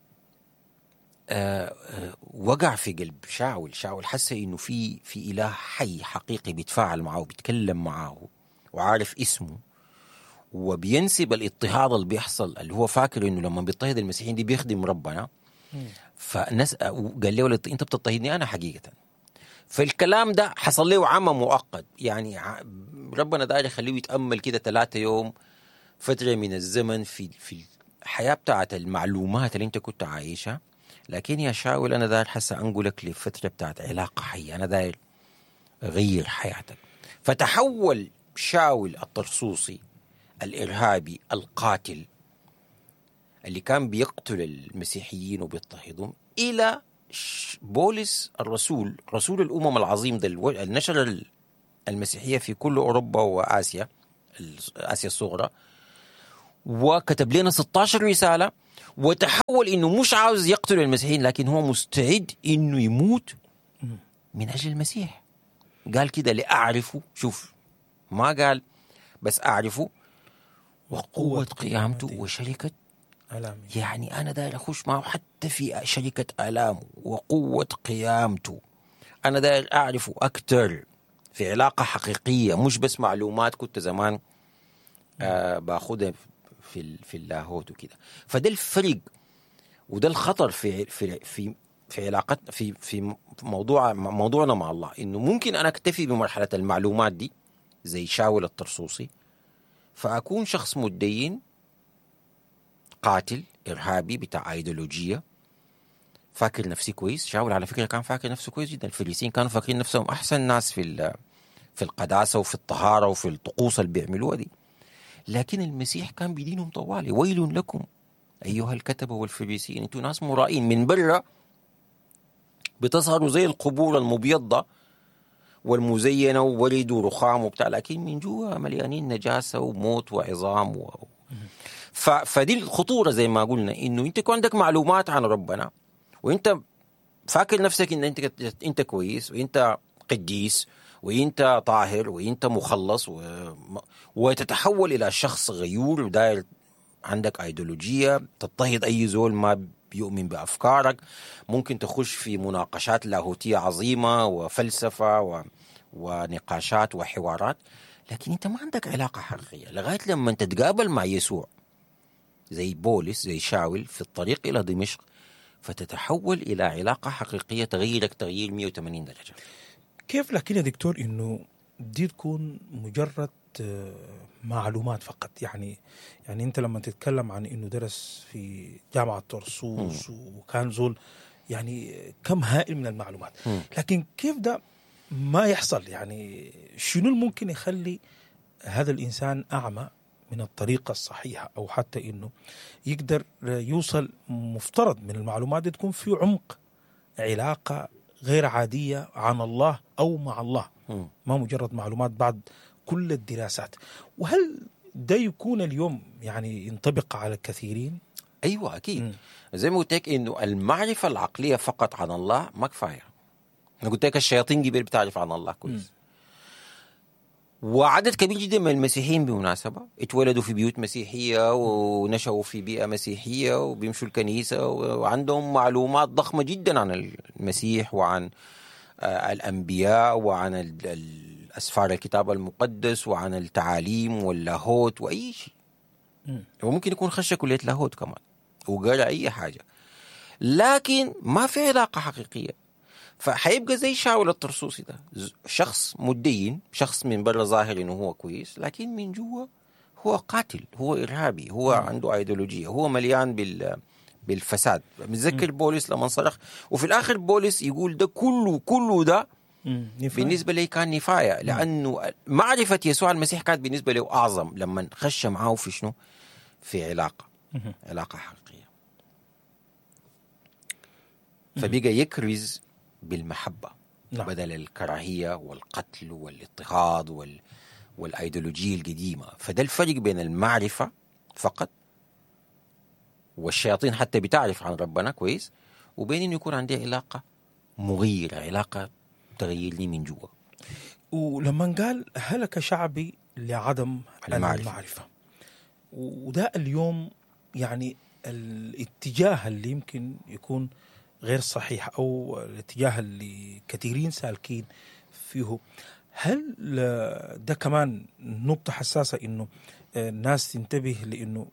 وقع في قلب شاول. شاول حس إنه في إله حي حقيقي بيتفاعل معه وبيتكلم معه وعارف اسمه، وبينسب الاضطهاد اللي بيحصل اللي هو فاكر إنه لما بيضطهد المسيحيين دي بيخدم ربنا. فناس قال له أنت بتضطهدني أنا حقيقة. فالكلام ده حصل له عمى مؤقت، يعني ربنا داير يخليه يتأمل كده 3 يوم، فترة من الزمن في الحياة بتاعت المعلومات اللي انت كنت عايشها. لكن يا شاول أنا داير حسا أنقلك لفترة بتاعت علاقة حية، أنا داير أغير حياتك. فتحول شاول الطرسوسي الإرهابي القاتل اللي كان بيقتل المسيحيين وبيضطهدهم إلى بولس الرسول، رسول الأمم العظيم ده، النشر المسيحية في كل أوروبا وآسيا، آسيا الصغرى، وكتب لنا 16 رسالة، وتحول إنه مش عاوز يقتل المسيحيين، لكن هو مستعد إنه يموت من أجل المسيح. قال كده لأعرفه، شوف ما قال بس أعرفه، وقوة قيامته وشركة آلامة. يعني أنا داير أخش معه حتى في شركة آلامة وقوة قيامته. أنا داير أعرفه أكتر في علاقة حقيقية، مش بس معلومات كنت زمان باخدها في اللاهوت وكده. فده الفرق وده الخطر في في في في علاقتنا في في موضوعنا مع الله، إنه ممكن أنا أكتفي بمرحلة المعلومات دي زي شاول الطرسوسي، فأكون شخص متدين قاتل إرهابي بتاع أيديولوجية، فاكر نفسي كويس. شاول على فكرة كان فاكر نفسه كويس جدا. الفريسيين كانوا فاكرين نفسهم أحسن ناس في القداسة وفي الطهارة وفي الطقوس اللي بيعملوها دي، لكن المسيح كان بيدينهم طوالي: ويل لكم أيها الكتبة والفريسيين، أنتوا ناس مرائين، من برا بتظهروا زي القبور المبيضة والمزينة وورد ورخام وبتاع، لكن من جوا مليانين نجاسة وموت وعظام فدي الخطورة زي ما قلنا، إنه أنت يكون عندك معلومات عن ربنا وأنت فاكر نفسك إن أنت كويس وأنت قديس وأنت طاهر وأنت مخلص وتتحول إلى شخص غيور وداير عندك أيديولوجية تضطهد أي زول ما بيؤمن بأفكارك، ممكن تخش في مناقشات لاهوتية عظيمة وفلسفة ونقاشات وحوارات، لكن أنت ما عندك علاقة حقيقية لغاية لما تتقابل مع يسوع زي بولس زي شاول في الطريق إلى دمشق، فتتحول إلى علاقة حقيقية تغيرك تغيير 180 درجة. كيف لكن يا دكتور إنه دي تكون مجرد معلومات فقط؟ يعني أنت لما تتكلم عن إنه درس في جامعة طرسوس وكان زول يعني كم هائل من المعلومات، لكن كيف ده ما يحصل؟ يعني شنو الممكن يخلي هذا الإنسان أعمى من الطريقة الصحيحة، أو حتى إنه يقدر يوصل مفترض من المعلومات دي تكون في عمق علاقة غير عادية عن الله أو مع الله، ما مجرد معلومات بعد كل الدراسات؟ وهل ده يكون اليوم يعني ينطبق على الكثيرين؟ أيوة أكيد. زي ما قلت لك إنه المعرفة العقلية فقط عن الله ما كفاية. أنا قلت لك الشياطين قبل بتعرف عن الله كويس، وعدد كبير جدا من المسيحيين بمناسبة اتولدوا في بيوت مسيحية ونشأوا في بيئة مسيحية وبيمشوا الكنيسة وعندهم معلومات ضخمة جدا عن المسيح وعن الأنبياء وعن الأسفار الكتاب المقدس وعن التعاليم واللاهوت وأي شيء. وممكن يكون خش كلية لاهوت كمان وقرأ أي حاجة، لكن ما في علاقة حقيقية. فحيبقى زي شاول الطرسوسي ده، شخص مدين، شخص من برا ظاهر انه هو كويس، لكن من جوا هو قاتل، هو ارهابي، هو عنده ايديولوجية، هو مليان بالفساد. متذكر بولس لما صرخ، وفي الاخر بولس يقول ده كله ده بالنسبة لي كان نفايه، لانه معرفة يسوع المسيح كانت بالنسبة له اعظم لما خش معاه في شنو؟ في علاقة، علاقة حقيقية. فبقى يكرز بالمحبة بدل الكراهية والقتل والاضطهاد والأيديولوجية القديمة. فده الفرق بين المعرفة فقط، والشياطين حتى بتعرف عن ربنا كويس، وبين إنه يكون عندي علاقة مغيرة، علاقة تغيرني من جوا. ولما قال هلك شعبي لعدم المعرفة، وده اليوم يعني الاتجاه اللي يمكن يكون غير صحيح، أو الاتجاه اللي كثيرين سالكين فيه. هل ده كمان نقطة حساسة إنه الناس تنتبه لإنه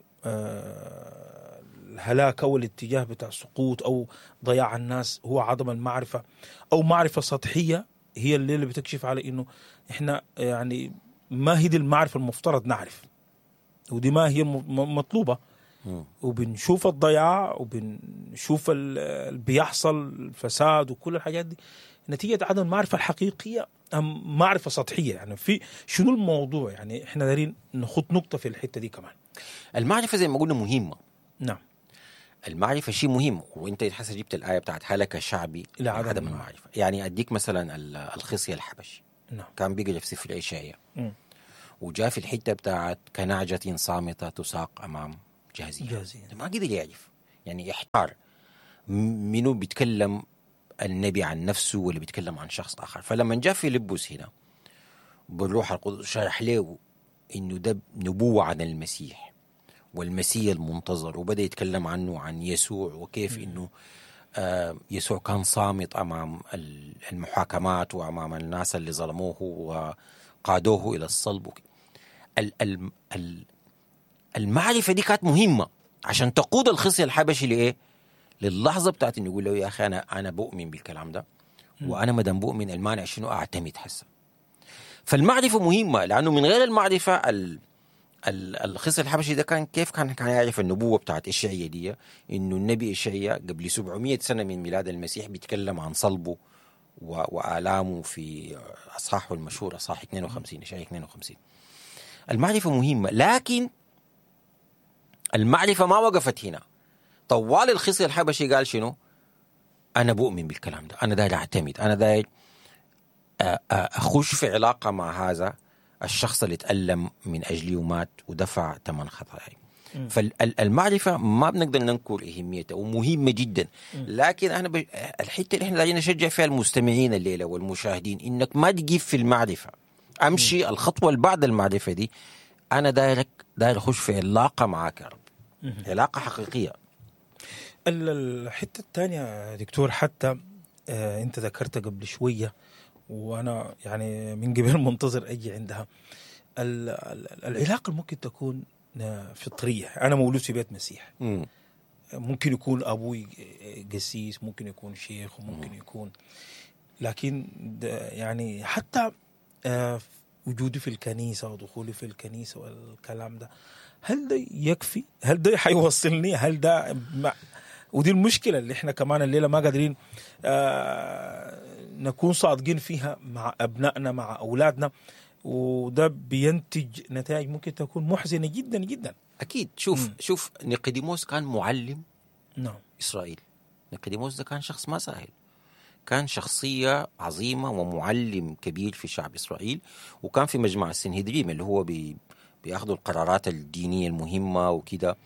الهلاك أو الاتجاه بتاع سقوط أو ضياع الناس هو عدم المعرفة، أو معرفة سطحية هي اللي بتكشف على إنه إحنا يعني ما هي دي المعرفة المفترض نعرف، ودي ما هي المطلوبة. وبنشوف الضياع وبنشوف اللي بيحصل، الفساد وكل الحاجات دي نتيجة عدم المعرفة الحقيقية أم معرفة سطحية. يعني في شنو الموضوع؟ يعني إحنا دارين نخط نقطة في الحتة دي كمان. المعرفة زي ما قلنا مهمة، نعم، المعرفة شيء مهم، وانت حسه جبت الايه بتاعت هلك شعبي لعدم عدم المعرفة. يعني اديك مثلا الخصي الحبشي كان بيقرا في سفر اشعياء وجاء في الحتة بتاعت كنعجه صامته تساق امام جازيه، ما قدر يعرف، يعني احتار منو بيتكلم النبي عن نفسه ولا بيتكلم عن شخص اخر. فلما جاء فيلبس هنا بالروح القدس شرح له انه ده نبوه عن المسيح والمسيح المنتظر، وبدا يتكلم عنه عن يسوع وكيف انه يسوع كان صامت امام المحاكمات وامام الناس اللي ظلموه وقادوه الى الصلب. المعرفة دي كانت مهمة عشان تقود الخصي الحبشي لايه؟ للحظة بتاعت انه يقول له يا اخي انا بؤمن بالكلام ده، وانا ما دام بؤمن المانع شنو اعتمد هسه. فالمعرفه مهمة، لانه من غير المعرفة الخصي الحبشي ده كان كيف كان يعرف النبوة بتاعت اشعياء دي، انه النبي اشعياء قبل 700 سنة من ميلاد المسيح بيتكلم عن صلبه والامه في اصحاحه المشهور اصحاح 52، اشعياء 52. المعرفة مهمة، لكن المعرفة ما وقفت هنا. طوال الخصي الحبشي قال شنو؟ انا بؤمن بالكلام ده، انا داير اعتمد، انا داير اخش في علاقة مع هذا الشخص اللي تألم من أجلي ومات ودفع ثمن خطاياي. فالمعرفة ما بنقدر ننكر أهميتها ومهمة جدا، لكن أنا الحتة اللي احنا دايرين نشجع فيها المستمعين الليلة والمشاهدين إنك ما تجيب في المعرفة، أمشي الخطوة اللي بعد المعرفة دي. أنا داير أخش في علاقة معاك يا رب، علاقة حقيقية. الحتة الثانية دكتور، حتى أنت ذكرت قبل شوية وأنا يعني من قبل منتظر أجي عندها، العلاقة ممكن تكون فطرية. أنا مولود في بيت مسيح، ممكن يكون أبوي قسيس، ممكن يكون شيخ، وممكن يكون، لكن يعني حتى وجودي في الكنيسة ودخولي في الكنيسة والكلام ده، هل ده يكفي؟ هل ده حيوصلني؟ هل ده ودي المشكلة اللي احنا كمان الليلة ما قادرين نكون صادقين فيها مع أبنائنا مع أولادنا، وده بينتج نتائج ممكن تكون محزنة جدا جدا. أكيد. شوف نيقوديموس كان معلم إسرائيل. نيقوديموس ده كان شخص ما سهل، كان شخصية عظيمة ومعلم كبير في شعب إسرائيل، وكان في مجمع السنهدريم اللي هو بياخدوا القرارات الدينية المهمة وكده،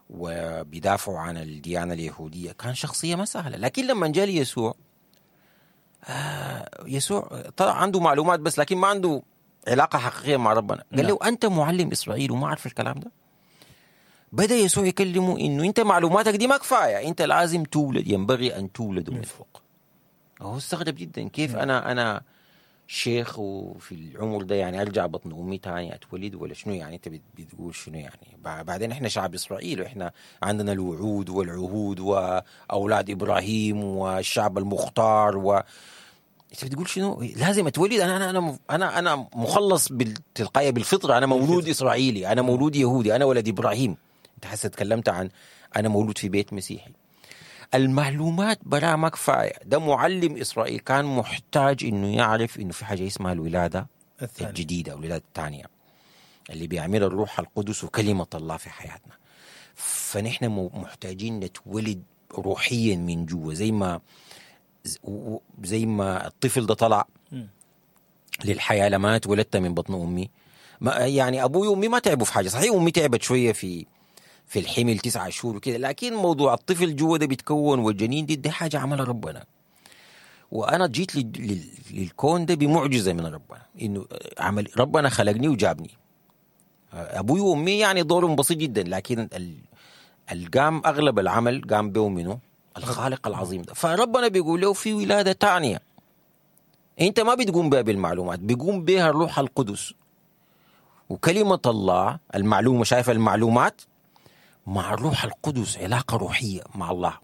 وبيدافعوا عن الديانة اليهودية. كان شخصية ما سهلة، لكن لما جاء يسوع، يسوع طلع عنده معلومات بس، لكن ما عنده علاقة حقيقية مع ربنا. قال له أنت معلم إسرائيل وما عارف الكلام ده. بدأ يسوع يكلمه إنه أنت معلوماتك دي ما كفاية، أنت لازم تولد، ينبغي أن تولد من فوق. هو استغرب جدا، كيف أنا شيخ وفي العمر ده يعني أرجع بطن أمي تاني أتولد ولا شنو؟ يعني أنت بتقول شنو يعني؟ بعدين إحنا شعب إسرائيل، وإحنا عندنا الوعود والعهود وأولاد إبراهيم والشعب المختار، و أنت بتقول شنو؟ لازم أتولد؟ أنا أنا أنا أنا مخلص بالتلقائية بالفطرة، أنا مولود إسرائيلي، أنا مولود يهودي، أنا ولد إبراهيم. أنت حاسس تكلمت عن أنا مولود في بيت مسيحي. المعلومات برا ما كفاية. ده معلم إسرائيل كان محتاج إنه يعرف إنه في حاجة اسمها الولادة الجديدة، الولادة الثانية اللي بيعملها الروح القدس وكلمة الله في حياتنا. فنحن محتاجين نتولد روحيا من جوا، زي ما الطفل ده طلع للحياة لما اتولدت من بطن أمي. ما يعني أبوي وأمي ما تعبوا في حاجة، صحيح أمي تعبت شوية في الحمل 9 شهور وكده، لكن موضوع الطفل جوا ده بيتكون والجنين دي حاجة عملها ربنا. وأنا جيت للكون ده بمعجزة من ربنا، إنه عمل ربنا خلقني وجابني. أبوي وأمي يعني دورهم بسيط جدا، لكن القام أغلب العمل قام به منه الخالق العظيم ده. فربنا بيقول له في ولادة تانية أنت ما بتقوم بها بالمعلومات، بيقوم بها الروح القدس وكلمة الله. المعلومة، شايف المعلومات مع الروح القدس علاقة روحية مع الله.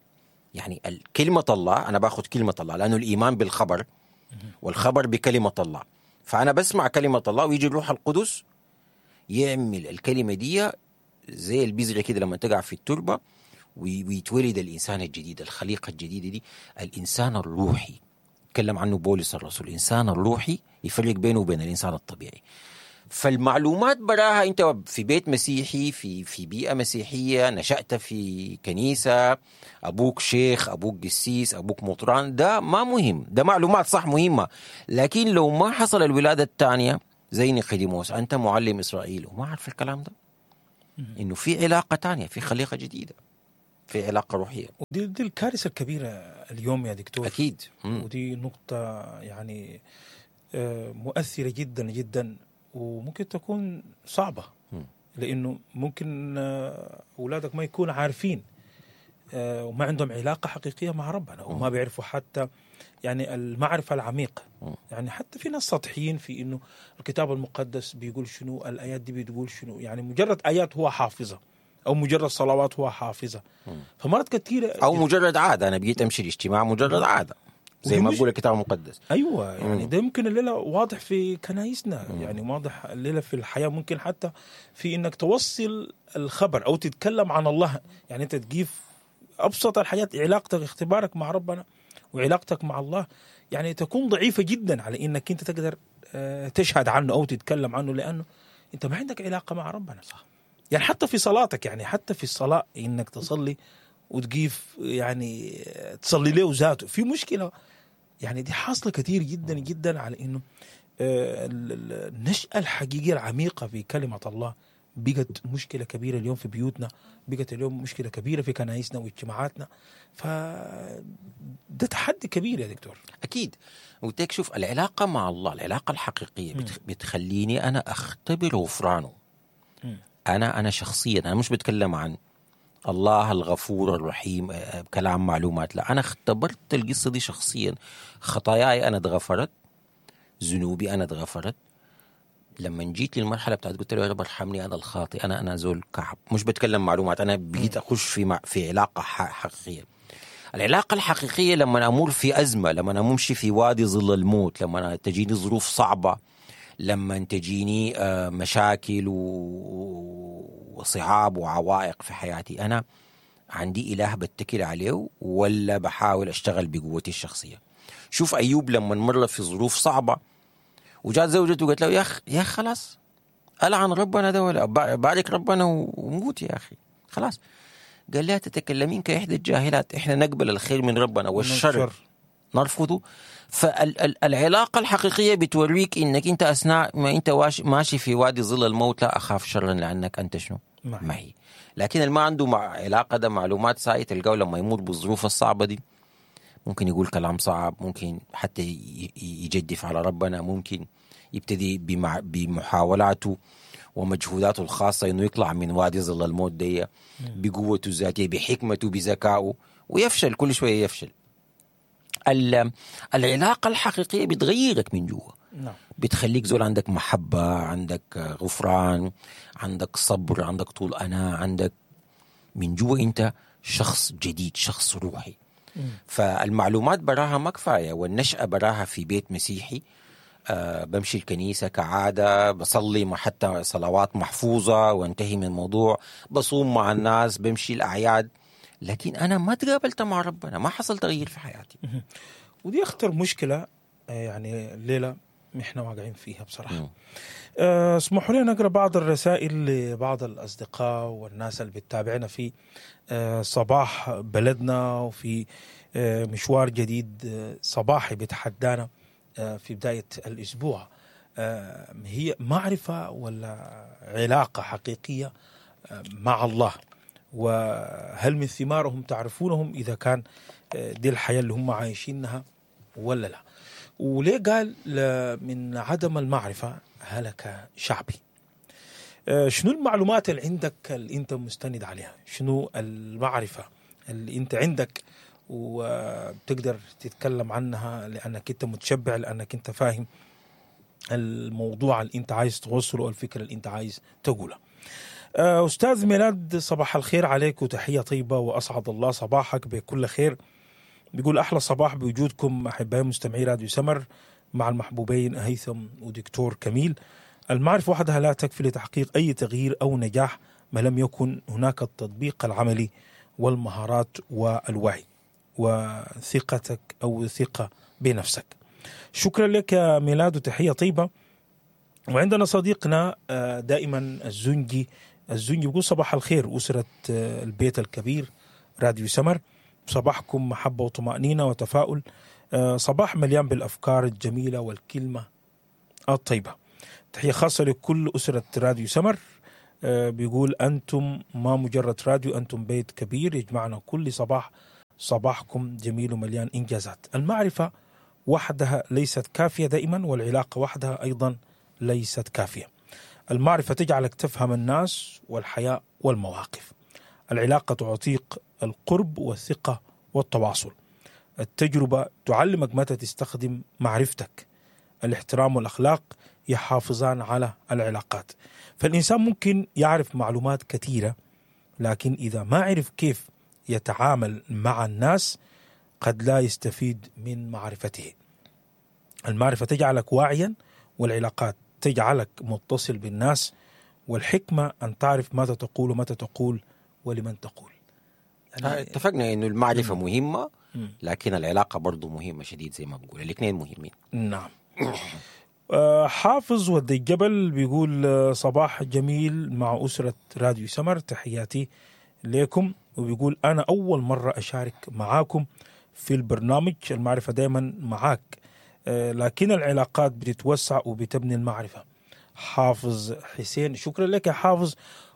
يعني كلمة الله، أنا باخذ كلمة الله لأنه الإيمان بالخبر والخبر بكلمة الله، فأنا بسمع كلمة الله ويجي الروح القدس يعمل الكلمة دي زي البذرة كده لما تقع في التربة، ويتولد الإنسان الجديد، الخليقة الجديدة دي، الإنسان الروحي. تكلم عنه بولس الرسول، الإنسان الروحي يفرق بينه وبين الإنسان الطبيعي. فالمعلومات براها، انت في بيت مسيحي، في بيئة مسيحية، نشأت في كنيسة، ابوك شيخ، ابوك قسيس، ابوك مطران، ده ما مهم، ده معلومات صح مهمة، لكن لو ما حصل الولادة الثانية زي نيقوديموس، انت معلم اسرائيل وما عارف الكلام ده، انه في علاقة ثانية، في خليقة جديدة، في علاقة روحية. ودي الكارثة الكبيرة اليوم يا دكتور. اكيد. ودي نقطة يعني مؤثرة جدا جدا، وممكن تكون صعبة، لأنه ممكن أولادك ما يكونوا عارفين وما عندهم علاقة حقيقية مع ربنا، وما بيعرفوا حتى يعني المعرفة العميقة. يعني حتى في ناس سطحيين في إنه الكتاب المقدس بيقول شنو، الآيات دي بتقول شنو، يعني مجرد آيات هو حافظة أو مجرد صلوات هو حافظة. فمرات كثيرة أو مجرد عادة، أنا بقيت أمشي الاجتماع مجرد عادة زي ما بقول الكتاب المقدس. ايوه، يعني ده يمكن الليلة واضح في كنايسنا، يعني واضح الليلة في الحياة، ممكن حتى في انك توصل الخبر او تتكلم عن الله، يعني انت تجيب ابسط الحاجات، علاقتك، اختبارك مع ربنا وعلاقتك مع الله يعني تكون ضعيفة جدا على انك انت تقدر تشهد عنه او تتكلم عنه، لانه انت ما عندك علاقة مع ربنا. صح. يعني حتى في صلاتك، يعني حتى في الصلاة انك تصلي وتقيف يعني تصلي له ذاته في مشكلة. يعني دي حاصله كثير جدا جدا على انه النشأة الحقيقية العميقة في كلمة الله بقت مشكلة كبيرة اليوم في بيوتنا، بقت اليوم مشكلة كبيرة في كنايسنا واجتماعاتنا. فده تحدي كبير يا دكتور. اكيد. وتك شوف العلاقة مع الله، العلاقة الحقيقية بتخليني انا اختبر غفرانه. انا شخصيا، انا مش بتكلم عن الله الغفور الرحيم كلام معلومات، لا، أنا اختبرت القصة دي شخصيا. خطاياي أنا اتغفرت، ذنوبي أنا اتغفرت. لما جيت للمرحلة بتاعت قلت له يا رب ارحمني أنا الخاطئ، أنا زول كعب، مش بتكلم معلومات، أنا بقيت أخش في علاقة حقيقية. العلاقة الحقيقية لما أمر في أزمة، لما أمشي في وادي ظل الموت، لما تجيني ظروف صعبة، لما تجيني مشاكل وصعاب وعوائق في حياتي، أنا عندي إله بتكل عليه ولا بحاول أشتغل بقوتي الشخصية؟ شوف أيوب لما مر في ظروف صعبة وجات زوجته وقالت له يا أخ خلاص ألعن ربنا ده ولا بارك ربنا وموت يا أخي خلاص. قال لها تتكلمين كإحدى الجاهلات، إحنا نقبل الخير من ربنا والشر نرفضه. فالعلاقة الحقيقية بتوريك إنك أنت أثناء ما أنت ماشي في وادي ظل الموت لا أخاف شرا لأنك أنت شنو؟ معي. لكن اللي ما عنده مع علاقة ده معلومات ساي تلقاه لما يمر بالظروف الصعبة دي ممكن يقول كلام صعب، ممكن حتى يجدف على ربنا، ممكن يبتدي بمحاولاته ومجهوداته الخاصة إنه يطلع من وادي ظل الموت دي بقوته الذاتية، بحكمته، بذكائه، ويفشل كل شوية يفشل. العلاقة الحقيقية بتغيرك من جوا، بتخليك زول عندك محبة، عندك غفران، عندك صبر، عندك طول أنا، عندك من جوا أنت شخص جديد، شخص روحي. فالمعلومات براها ما كفاية، والنشأة براها في بيت مسيحي، بمشي الكنيسة كعادة، بصلي ما حتى صلوات محفوظة وانتهي من الموضوع، بصوم مع الناس، بمشي الأعياد، لكن أنا ما تقابلت مع ربنا، ما حصل تغيير في حياتي. ودي أخطر مشكلة يعني الليلة إحنا واقعين فيها بصراحة. اسمحوا لي نقرأ بعض الرسائل لبعض الأصدقاء والناس اللي بتتابعنا في صباح بلدنا وفي مشوار جديد صباحي بيتحدانا في بداية الأسبوع. هي معرفة ولا علاقة حقيقية مع الله؟ وهل من ثمارهم تعرفونهم إذا كان دي الحياة اللي هم عايشينها ولا لا؟ وليه قال من عدم المعرفة هلك شعبي؟ شنو المعلومات اللي عندك اللي انت مستند عليها؟ شنو المعرفة اللي انت عندك وبتقدر تتكلم عنها لأنك انت متشبع، لأنك انت فاهم الموضوع اللي انت عايز توصله والفكرة اللي انت عايز تقولها؟ أستاذ ميلاد، صباح الخير عليك وتحية طيبة، وأسعد الله صباحك بكل خير. بيقول أحلى صباح بوجودكم أحبائي مستمعي راديو سمر مع المحبوبين هيثم ودكتور كميل. المعرفة وحدها لا تكفي لتحقيق أي تغيير أو نجاح ما لم يكن هناك التطبيق العملي والمهارات والوعي وثقتك أو ثقة بنفسك. شكرا لك يا ميلاد وتحية طيبة. وعندنا صديقنا دائما الزنجي بيقول صباح الخير أسرة البيت الكبير راديو سمر، صباحكم محبة وطمأنينة وتفاؤل، صباح مليان بالأفكار الجميلة والكلمة الطيبة. تحية خاصة لكل أسرة راديو سمر. بيقول أنتم ما مجرد راديو، أنتم بيت كبير يجمعنا كل صباح، صباحكم جميل ومليان إنجازات. المعرفة وحدها ليست كافية دائما، والعلاقة وحدها أيضا ليست كافية. المعرفة تجعلك تفهم الناس والحياة والمواقف. العلاقة تعطيك القرب والثقة والتواصل. التجربة تعلمك متى تستخدم معرفتك. الاحترام والأخلاق يحافظان على العلاقات. فالإنسان ممكن يعرف معلومات كثيرة، لكن إذا ما عرف كيف يتعامل مع الناس قد لا يستفيد من معرفته. المعرفة تجعلك واعيا، والعلاقات تجعلك متصل بالناس، والحكمة أن تعرف ماذا تقول ومتى تقول ولمن تقول. يعني اتفقنا إنه المعرفة مهمة، لكن العلاقة برضو مهمة شديد زي ما بقول، الاثنين مهمين. نعم. حافظ ود الجبل بيقول صباح جميل مع أسرة راديو سمر، تحياتي لكم. وبيقول أنا أول مرة أشارك معاكم في البرنامج، المعرفة دايما معاك، لكن العلاقات بتتوسع وبتبني المعرفة. حافظ حسين، شكرا لك يا حافظ،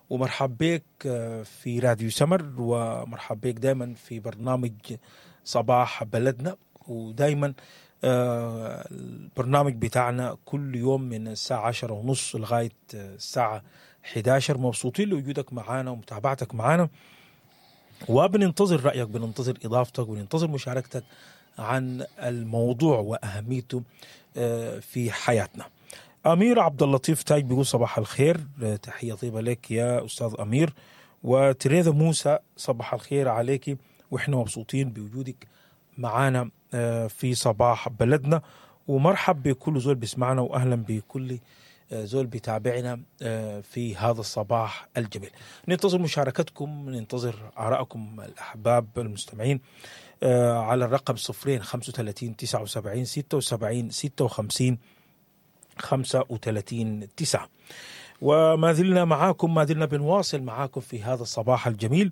ومرحب بك في راديو سمر، ومرحب بك دايما في برنامج صباح بلدنا. ودايما البرنامج بتاعنا كل يوم من الساعة 10:30 لغاية الساعة 11. مبسوطين لوجودك معانا ومتابعتك معانا، وبننتظر رأيك، بننتظر إضافتك، وبننتظر مشاركتك عن الموضوع وأهميته في حياتنا. أمير عبد اللطيف تاج بيقول صباح الخير، تحية طيبة لك يا أستاذ أمير. وتريذا موسى صباح الخير عليك، وإحنا مبسوطين بوجودك معانا في صباح بلدنا. ومرحب بكل زول بيسمعنا، وأهلا بكل زول بيتابعنا في هذا الصباح الجميل. ننتظر مشاركتكم، ننتظر آرائكم الأحباب المستمعين على الرقم 0 35 79 76 56 35 9. وما زلنا معاكم، ما زلنا بنواصل معاكم في هذا الصباح الجميل.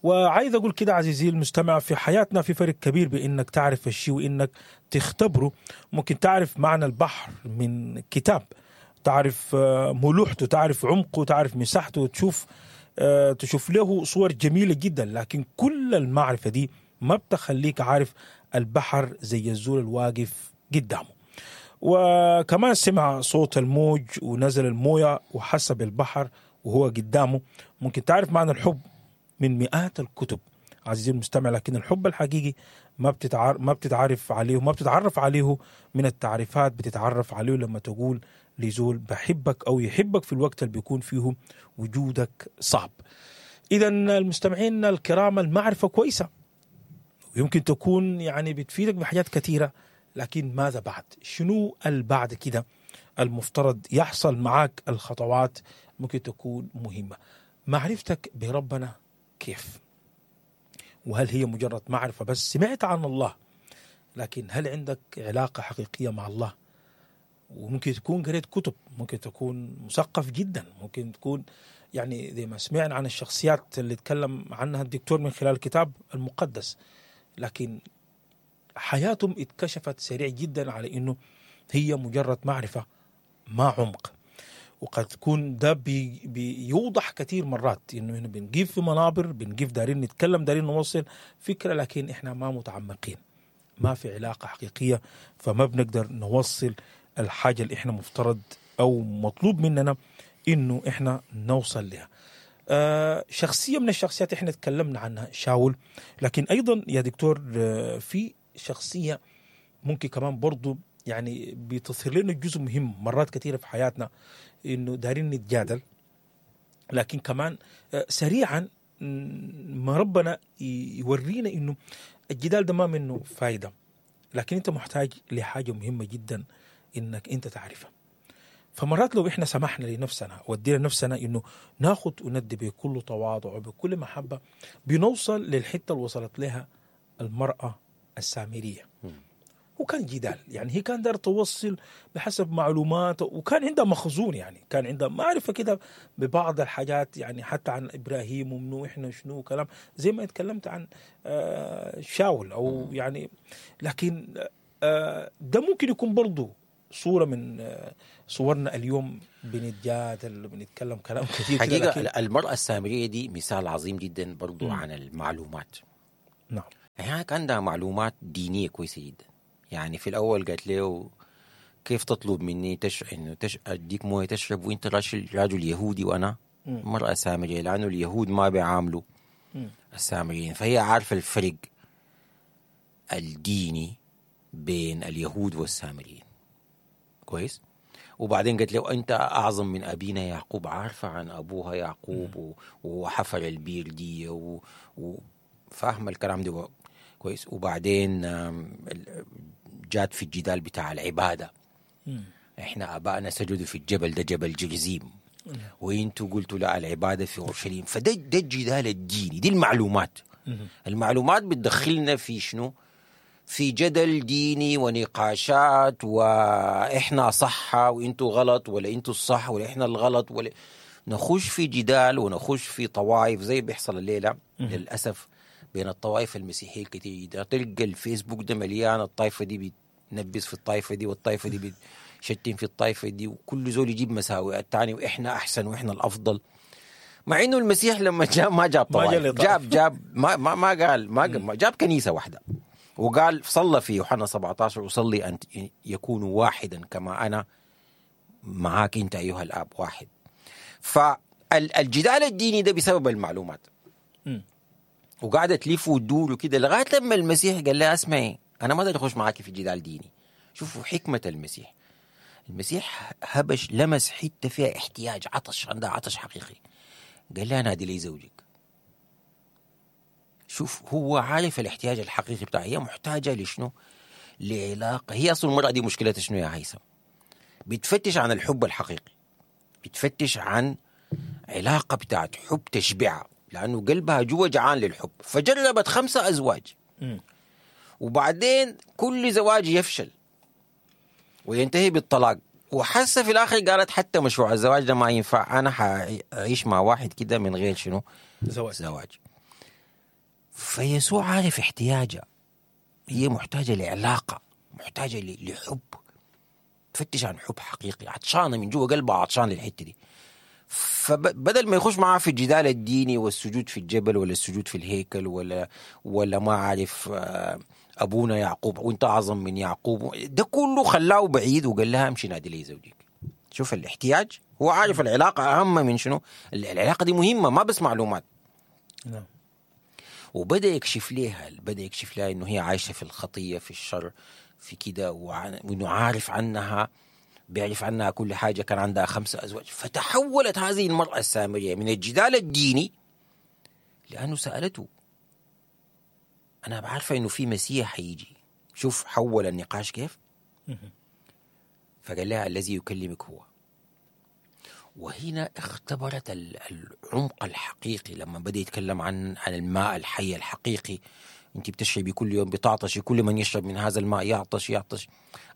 وعايز أقول كده عزيزي المستمع، في حياتنا في فرق كبير بإنك تعرف الشيء وإنك تختبره. ممكن تعرف معنى البحر من كتاب، تعرف ملوحته، تعرف عمقه، تعرف مساحته، تشوف له صور جميلة جدا، لكن كل المعرفة دي ما بتخليك عارف البحر زي الزول الواقف قدامه. وكمان سمع صوت الموج ونزل الموية وحس بالبحر وهو قدامه. ممكن تعرف معنى الحب من مئات الكتب عزيزي المستمع، لكن الحب الحقيقي ما بتتعرف عليه، ما بتتعرف عليه من التعريفات، بتتعرف عليه لما تقول لزول بحبك أو يحبك في الوقت اللي بيكون فيه وجودك صعب. إذا المستمعين الكرام، المعرفة كويسة ويمكن تكون يعني بتفيدك بحاجات كثيرة، لكن ماذا بعد؟ شنو البعد كده المفترض يحصل معاك؟ الخطوات ممكن تكون مهمة. معرفتك بربنا كيف؟ وهل هي مجرد معرفة بس سمعت عن الله، لكن هل عندك علاقة حقيقية مع الله؟ وممكن تكون قريت كتب، ممكن تكون مثقف جدا، ممكن تكون يعني زي ما سمعنا عن الشخصيات اللي تكلم عنها الدكتور من خلال الكتاب المقدس، لكن حياتهم اتكشفت سريع جدا على انه هي مجرد معرفة ما عمق. وقد تكون ده بيوضح كثير مرات انه هنا بنجيب في منابر، بنجيب دارين نتكلم، دارين نوصل فكرة، لكن احنا ما متعمقين، ما في علاقة حقيقية، فما بنقدر نوصل الحاجة اللي احنا مفترض او مطلوب مننا انه احنا نوصل لها. شخصية من الشخصيات احنا تكلمنا عنها شاول، لكن ايضا يا دكتور في شخصية ممكن كمان برضو يعني بتظهر لنا جزء مهم مرات كثيرة في حياتنا، انه دارين نتجادل، لكن كمان سريعا ما ربنا يورينا انه الجدال ده ما منه فايدة، لكن انت محتاج لحاجة مهمة جدا انك انت تعرفها. فمرات لو احنا سمحنا لنفسنا ودينا نفسنا انه ناخد وندي بكل تواضع وبكل محبة، بنوصل للحتة اللي وصلت لها المرأة السامرية. هو كان جدال، يعني هي كان دار توصل بحسب معلومات، وكان عندها مخزون، يعني كان عندها معرفة كده ببعض الحاجات، يعني حتى عن ابراهيم ومنو احنا شنو كلام زي ما اتكلمت عن شاول او يعني. لكن ده ممكن يكون برضو صورة من صورنا اليوم، بنتجادل بنتكلم كلام كثير. حقيقة المرأة السامرية دي مثال عظيم جدا برضو عن المعلومات. نعم. هي كان عندها معلومات دينية كويسة جدا. يعني في الأول قالت له كيف تطلب مني إنه أديك موية تشرب وأنت رجل يهودي وأنا مرأة سامرية، لأنه اليهود ما بيعاملوا السامريين. فهي عارفة الفرق الديني بين اليهود والسامريين كويس. وبعدين قالت له أنت أعظم من أبينا يعقوب، عارفة عن أبوها يعقوب وحفر البير دي وفاهمة الكلام ده كويس. وبعدين جات في الجدال بتاع العبادة، احنا أبائنا سجدوا في الجبل ده، جبل جرزيم، وانتوا قلتوا لا العبادة في أورشليم. فده ده الجدال الديني، دي المعلومات. المعلومات بتدخلنا في شنو؟ في جدل ديني ونقاشات، واحنا صح وانتوا غلط، ولا انتوا الصح ولا احنا الغلط، ولا نخش في جدال ونخش في طوائف زي بيحصل الليلة للأسف بين الطوائف المسيحية الكتير. تلقى الفيسبوك ده مليان، الطائفة دي بتنبس في الطائفة دي، والطائفة دي بتشتم في الطائفة دي، وكل زول يجيب مساوئ الثاني، وإحنا أحسن وإحنا الأفضل. مع إنه المسيح لما جاء ما جاب طوائف، جاب جاب ما ما ما قال ما جاب كنيسة واحدة، وقال صلى في يوحنا 17 أصلي أن يكونوا واحدا كما أنا معاك أنت أيها الآب واحد. فالجدال الديني ده بسبب المعلومات، وقاعدة تلف وتدور وكده لغاية لما المسيح قال لها اسمعي أنا ما أقدر أخش معاك في جدال ديني. شوفوا حكمة المسيح، المسيح هبش لمس حتة فيها احتياج، عطش، عندها عطش حقيقي. قال لها نادي لي زوجك. شوف هو عارف الاحتياج الحقيقي بتاعها، هي محتاجة لشنو؟ لعلاقة. هي أصلا المرأة دي مشكلتها شنو يا هيثم؟ بتفتش عن الحب الحقيقي، بتفتش عن علاقة بتاعت حب تشبعها، لأنه قلبها جوا جعان للحب. فجربت 5 أزواج، وبعدين كل زواج يفشل وينتهي بالطلاق، وحاسة في الآخر قالت حتى مشروع الزواج ده ما ينفع، أنا حأعيش مع واحد كده من غير شنو؟ زواج. فيسوع عارف احتياجها، هي محتاجة لعلاقة، محتاجة لحب، تفتش عن حب حقيقي، عطشانة من جوا قلبها، عطشان للحتة دي. فبدل ما يخش معاه في الجدال الديني والسجود في الجبل ولا السجود في الهيكل ولا ما عارف أبونا يعقوب وانت أعظم من يعقوب، ده كله خلاه بعيد وقال لها امشي نادي لي زوجك. شوف الاحتياج، هو عارف العلاقة أهم من شنو، العلاقة دي مهمة ما بس معلومات. نعم. وبدأ يكشف لها، بدأ يكشف لها إنه هي عايشة في الخطية، في الشر، في كده، وإنه عارف عنها، بيعرف عنها كل حاجة، كان عندها 5 أزواج. فتحولت هذه المرأة السامرية من الجدال الديني، لأنه سألته أنا بعرفة إنه في مسيح حيجي. شوف حول النقاش كيف. فقال لها الذي يكلمك هو. وهنا اختبرت العمق الحقيقي لما بدأ يتكلم عن الماء الحي الحقيقي. انت بتشربي كل يوم بتعطشي، كل من يشرب من هذا الماء يعطش يعطش.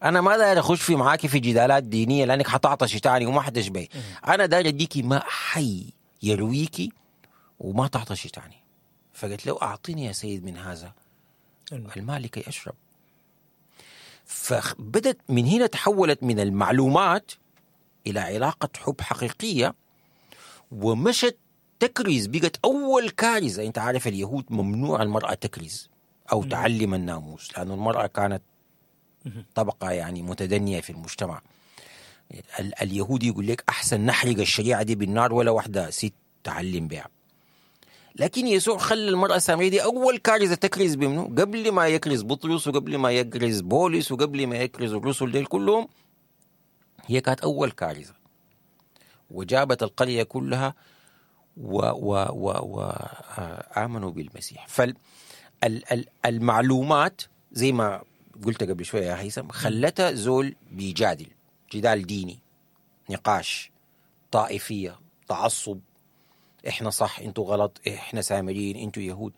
انا ما داير اخش في معاكي في جدالات دينية لانك حتعطشي تاني وما حتشبعي. انا داير اديكي ماء حي يرويكي وما تعطشي تاني. فقلت له اعطيني يا سيد من هذا الماء لكي اشرب. فبدت من هنا تحولت من المعلومات الى علاقة حب حقيقية، ومشت تكرز، بقت أول كارثة. أنت عارف اليهود ممنوع المرأة تكرز أو تعلم الناموس، لأن المرأة كانت طبقة يعني متدنية في المجتمع. اليهودي يقول لك أحسن نحرق الشريعة دي بالنار ولا واحدة ست تعلم بها. لكن يسوع خلى المرأة السامرية دي أول كارثة تكرز بمنه، قبل ما يكرز بطرس وقبل ما يكرز بولس وقبل ما يكرز الرسل ديل كلهم، هي كانت أول كارثة، وجابت القرية كلها وآمنوا بالمسيح. فالمعلومات زي ما قلت قبل شوية يا هيثم خلتها زول بيجادل جدال ديني، نقاش، طائفية، تعصب، احنا صح انتوا غلط، احنا سامريين انتوا يهود.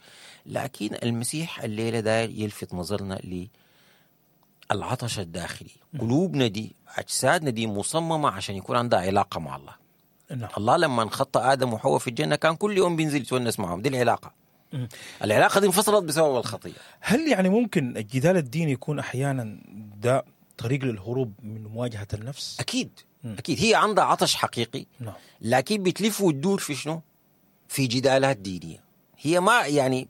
لكن المسيح الليلة داير يلفت نظرنا العطش الداخلي. قلوبنا دي، اجسادنا دي مصممه عشان يكون عندها علاقة مع الله. الله لما خط ادم وحواء في الجنة كان كل يوم بينزل يتونس معهم، دي العلاقة. العلاقة دي انفصلت بسبب الخطية. هل يعني ممكن الجدال الديني يكون احيانا ده طريق للهروب من مواجهة النفس؟ اكيد. اكيد هي عندها عطش حقيقي. لكن بتلف وتدور في شنو؟ في جدالات دينية. هي ما يعني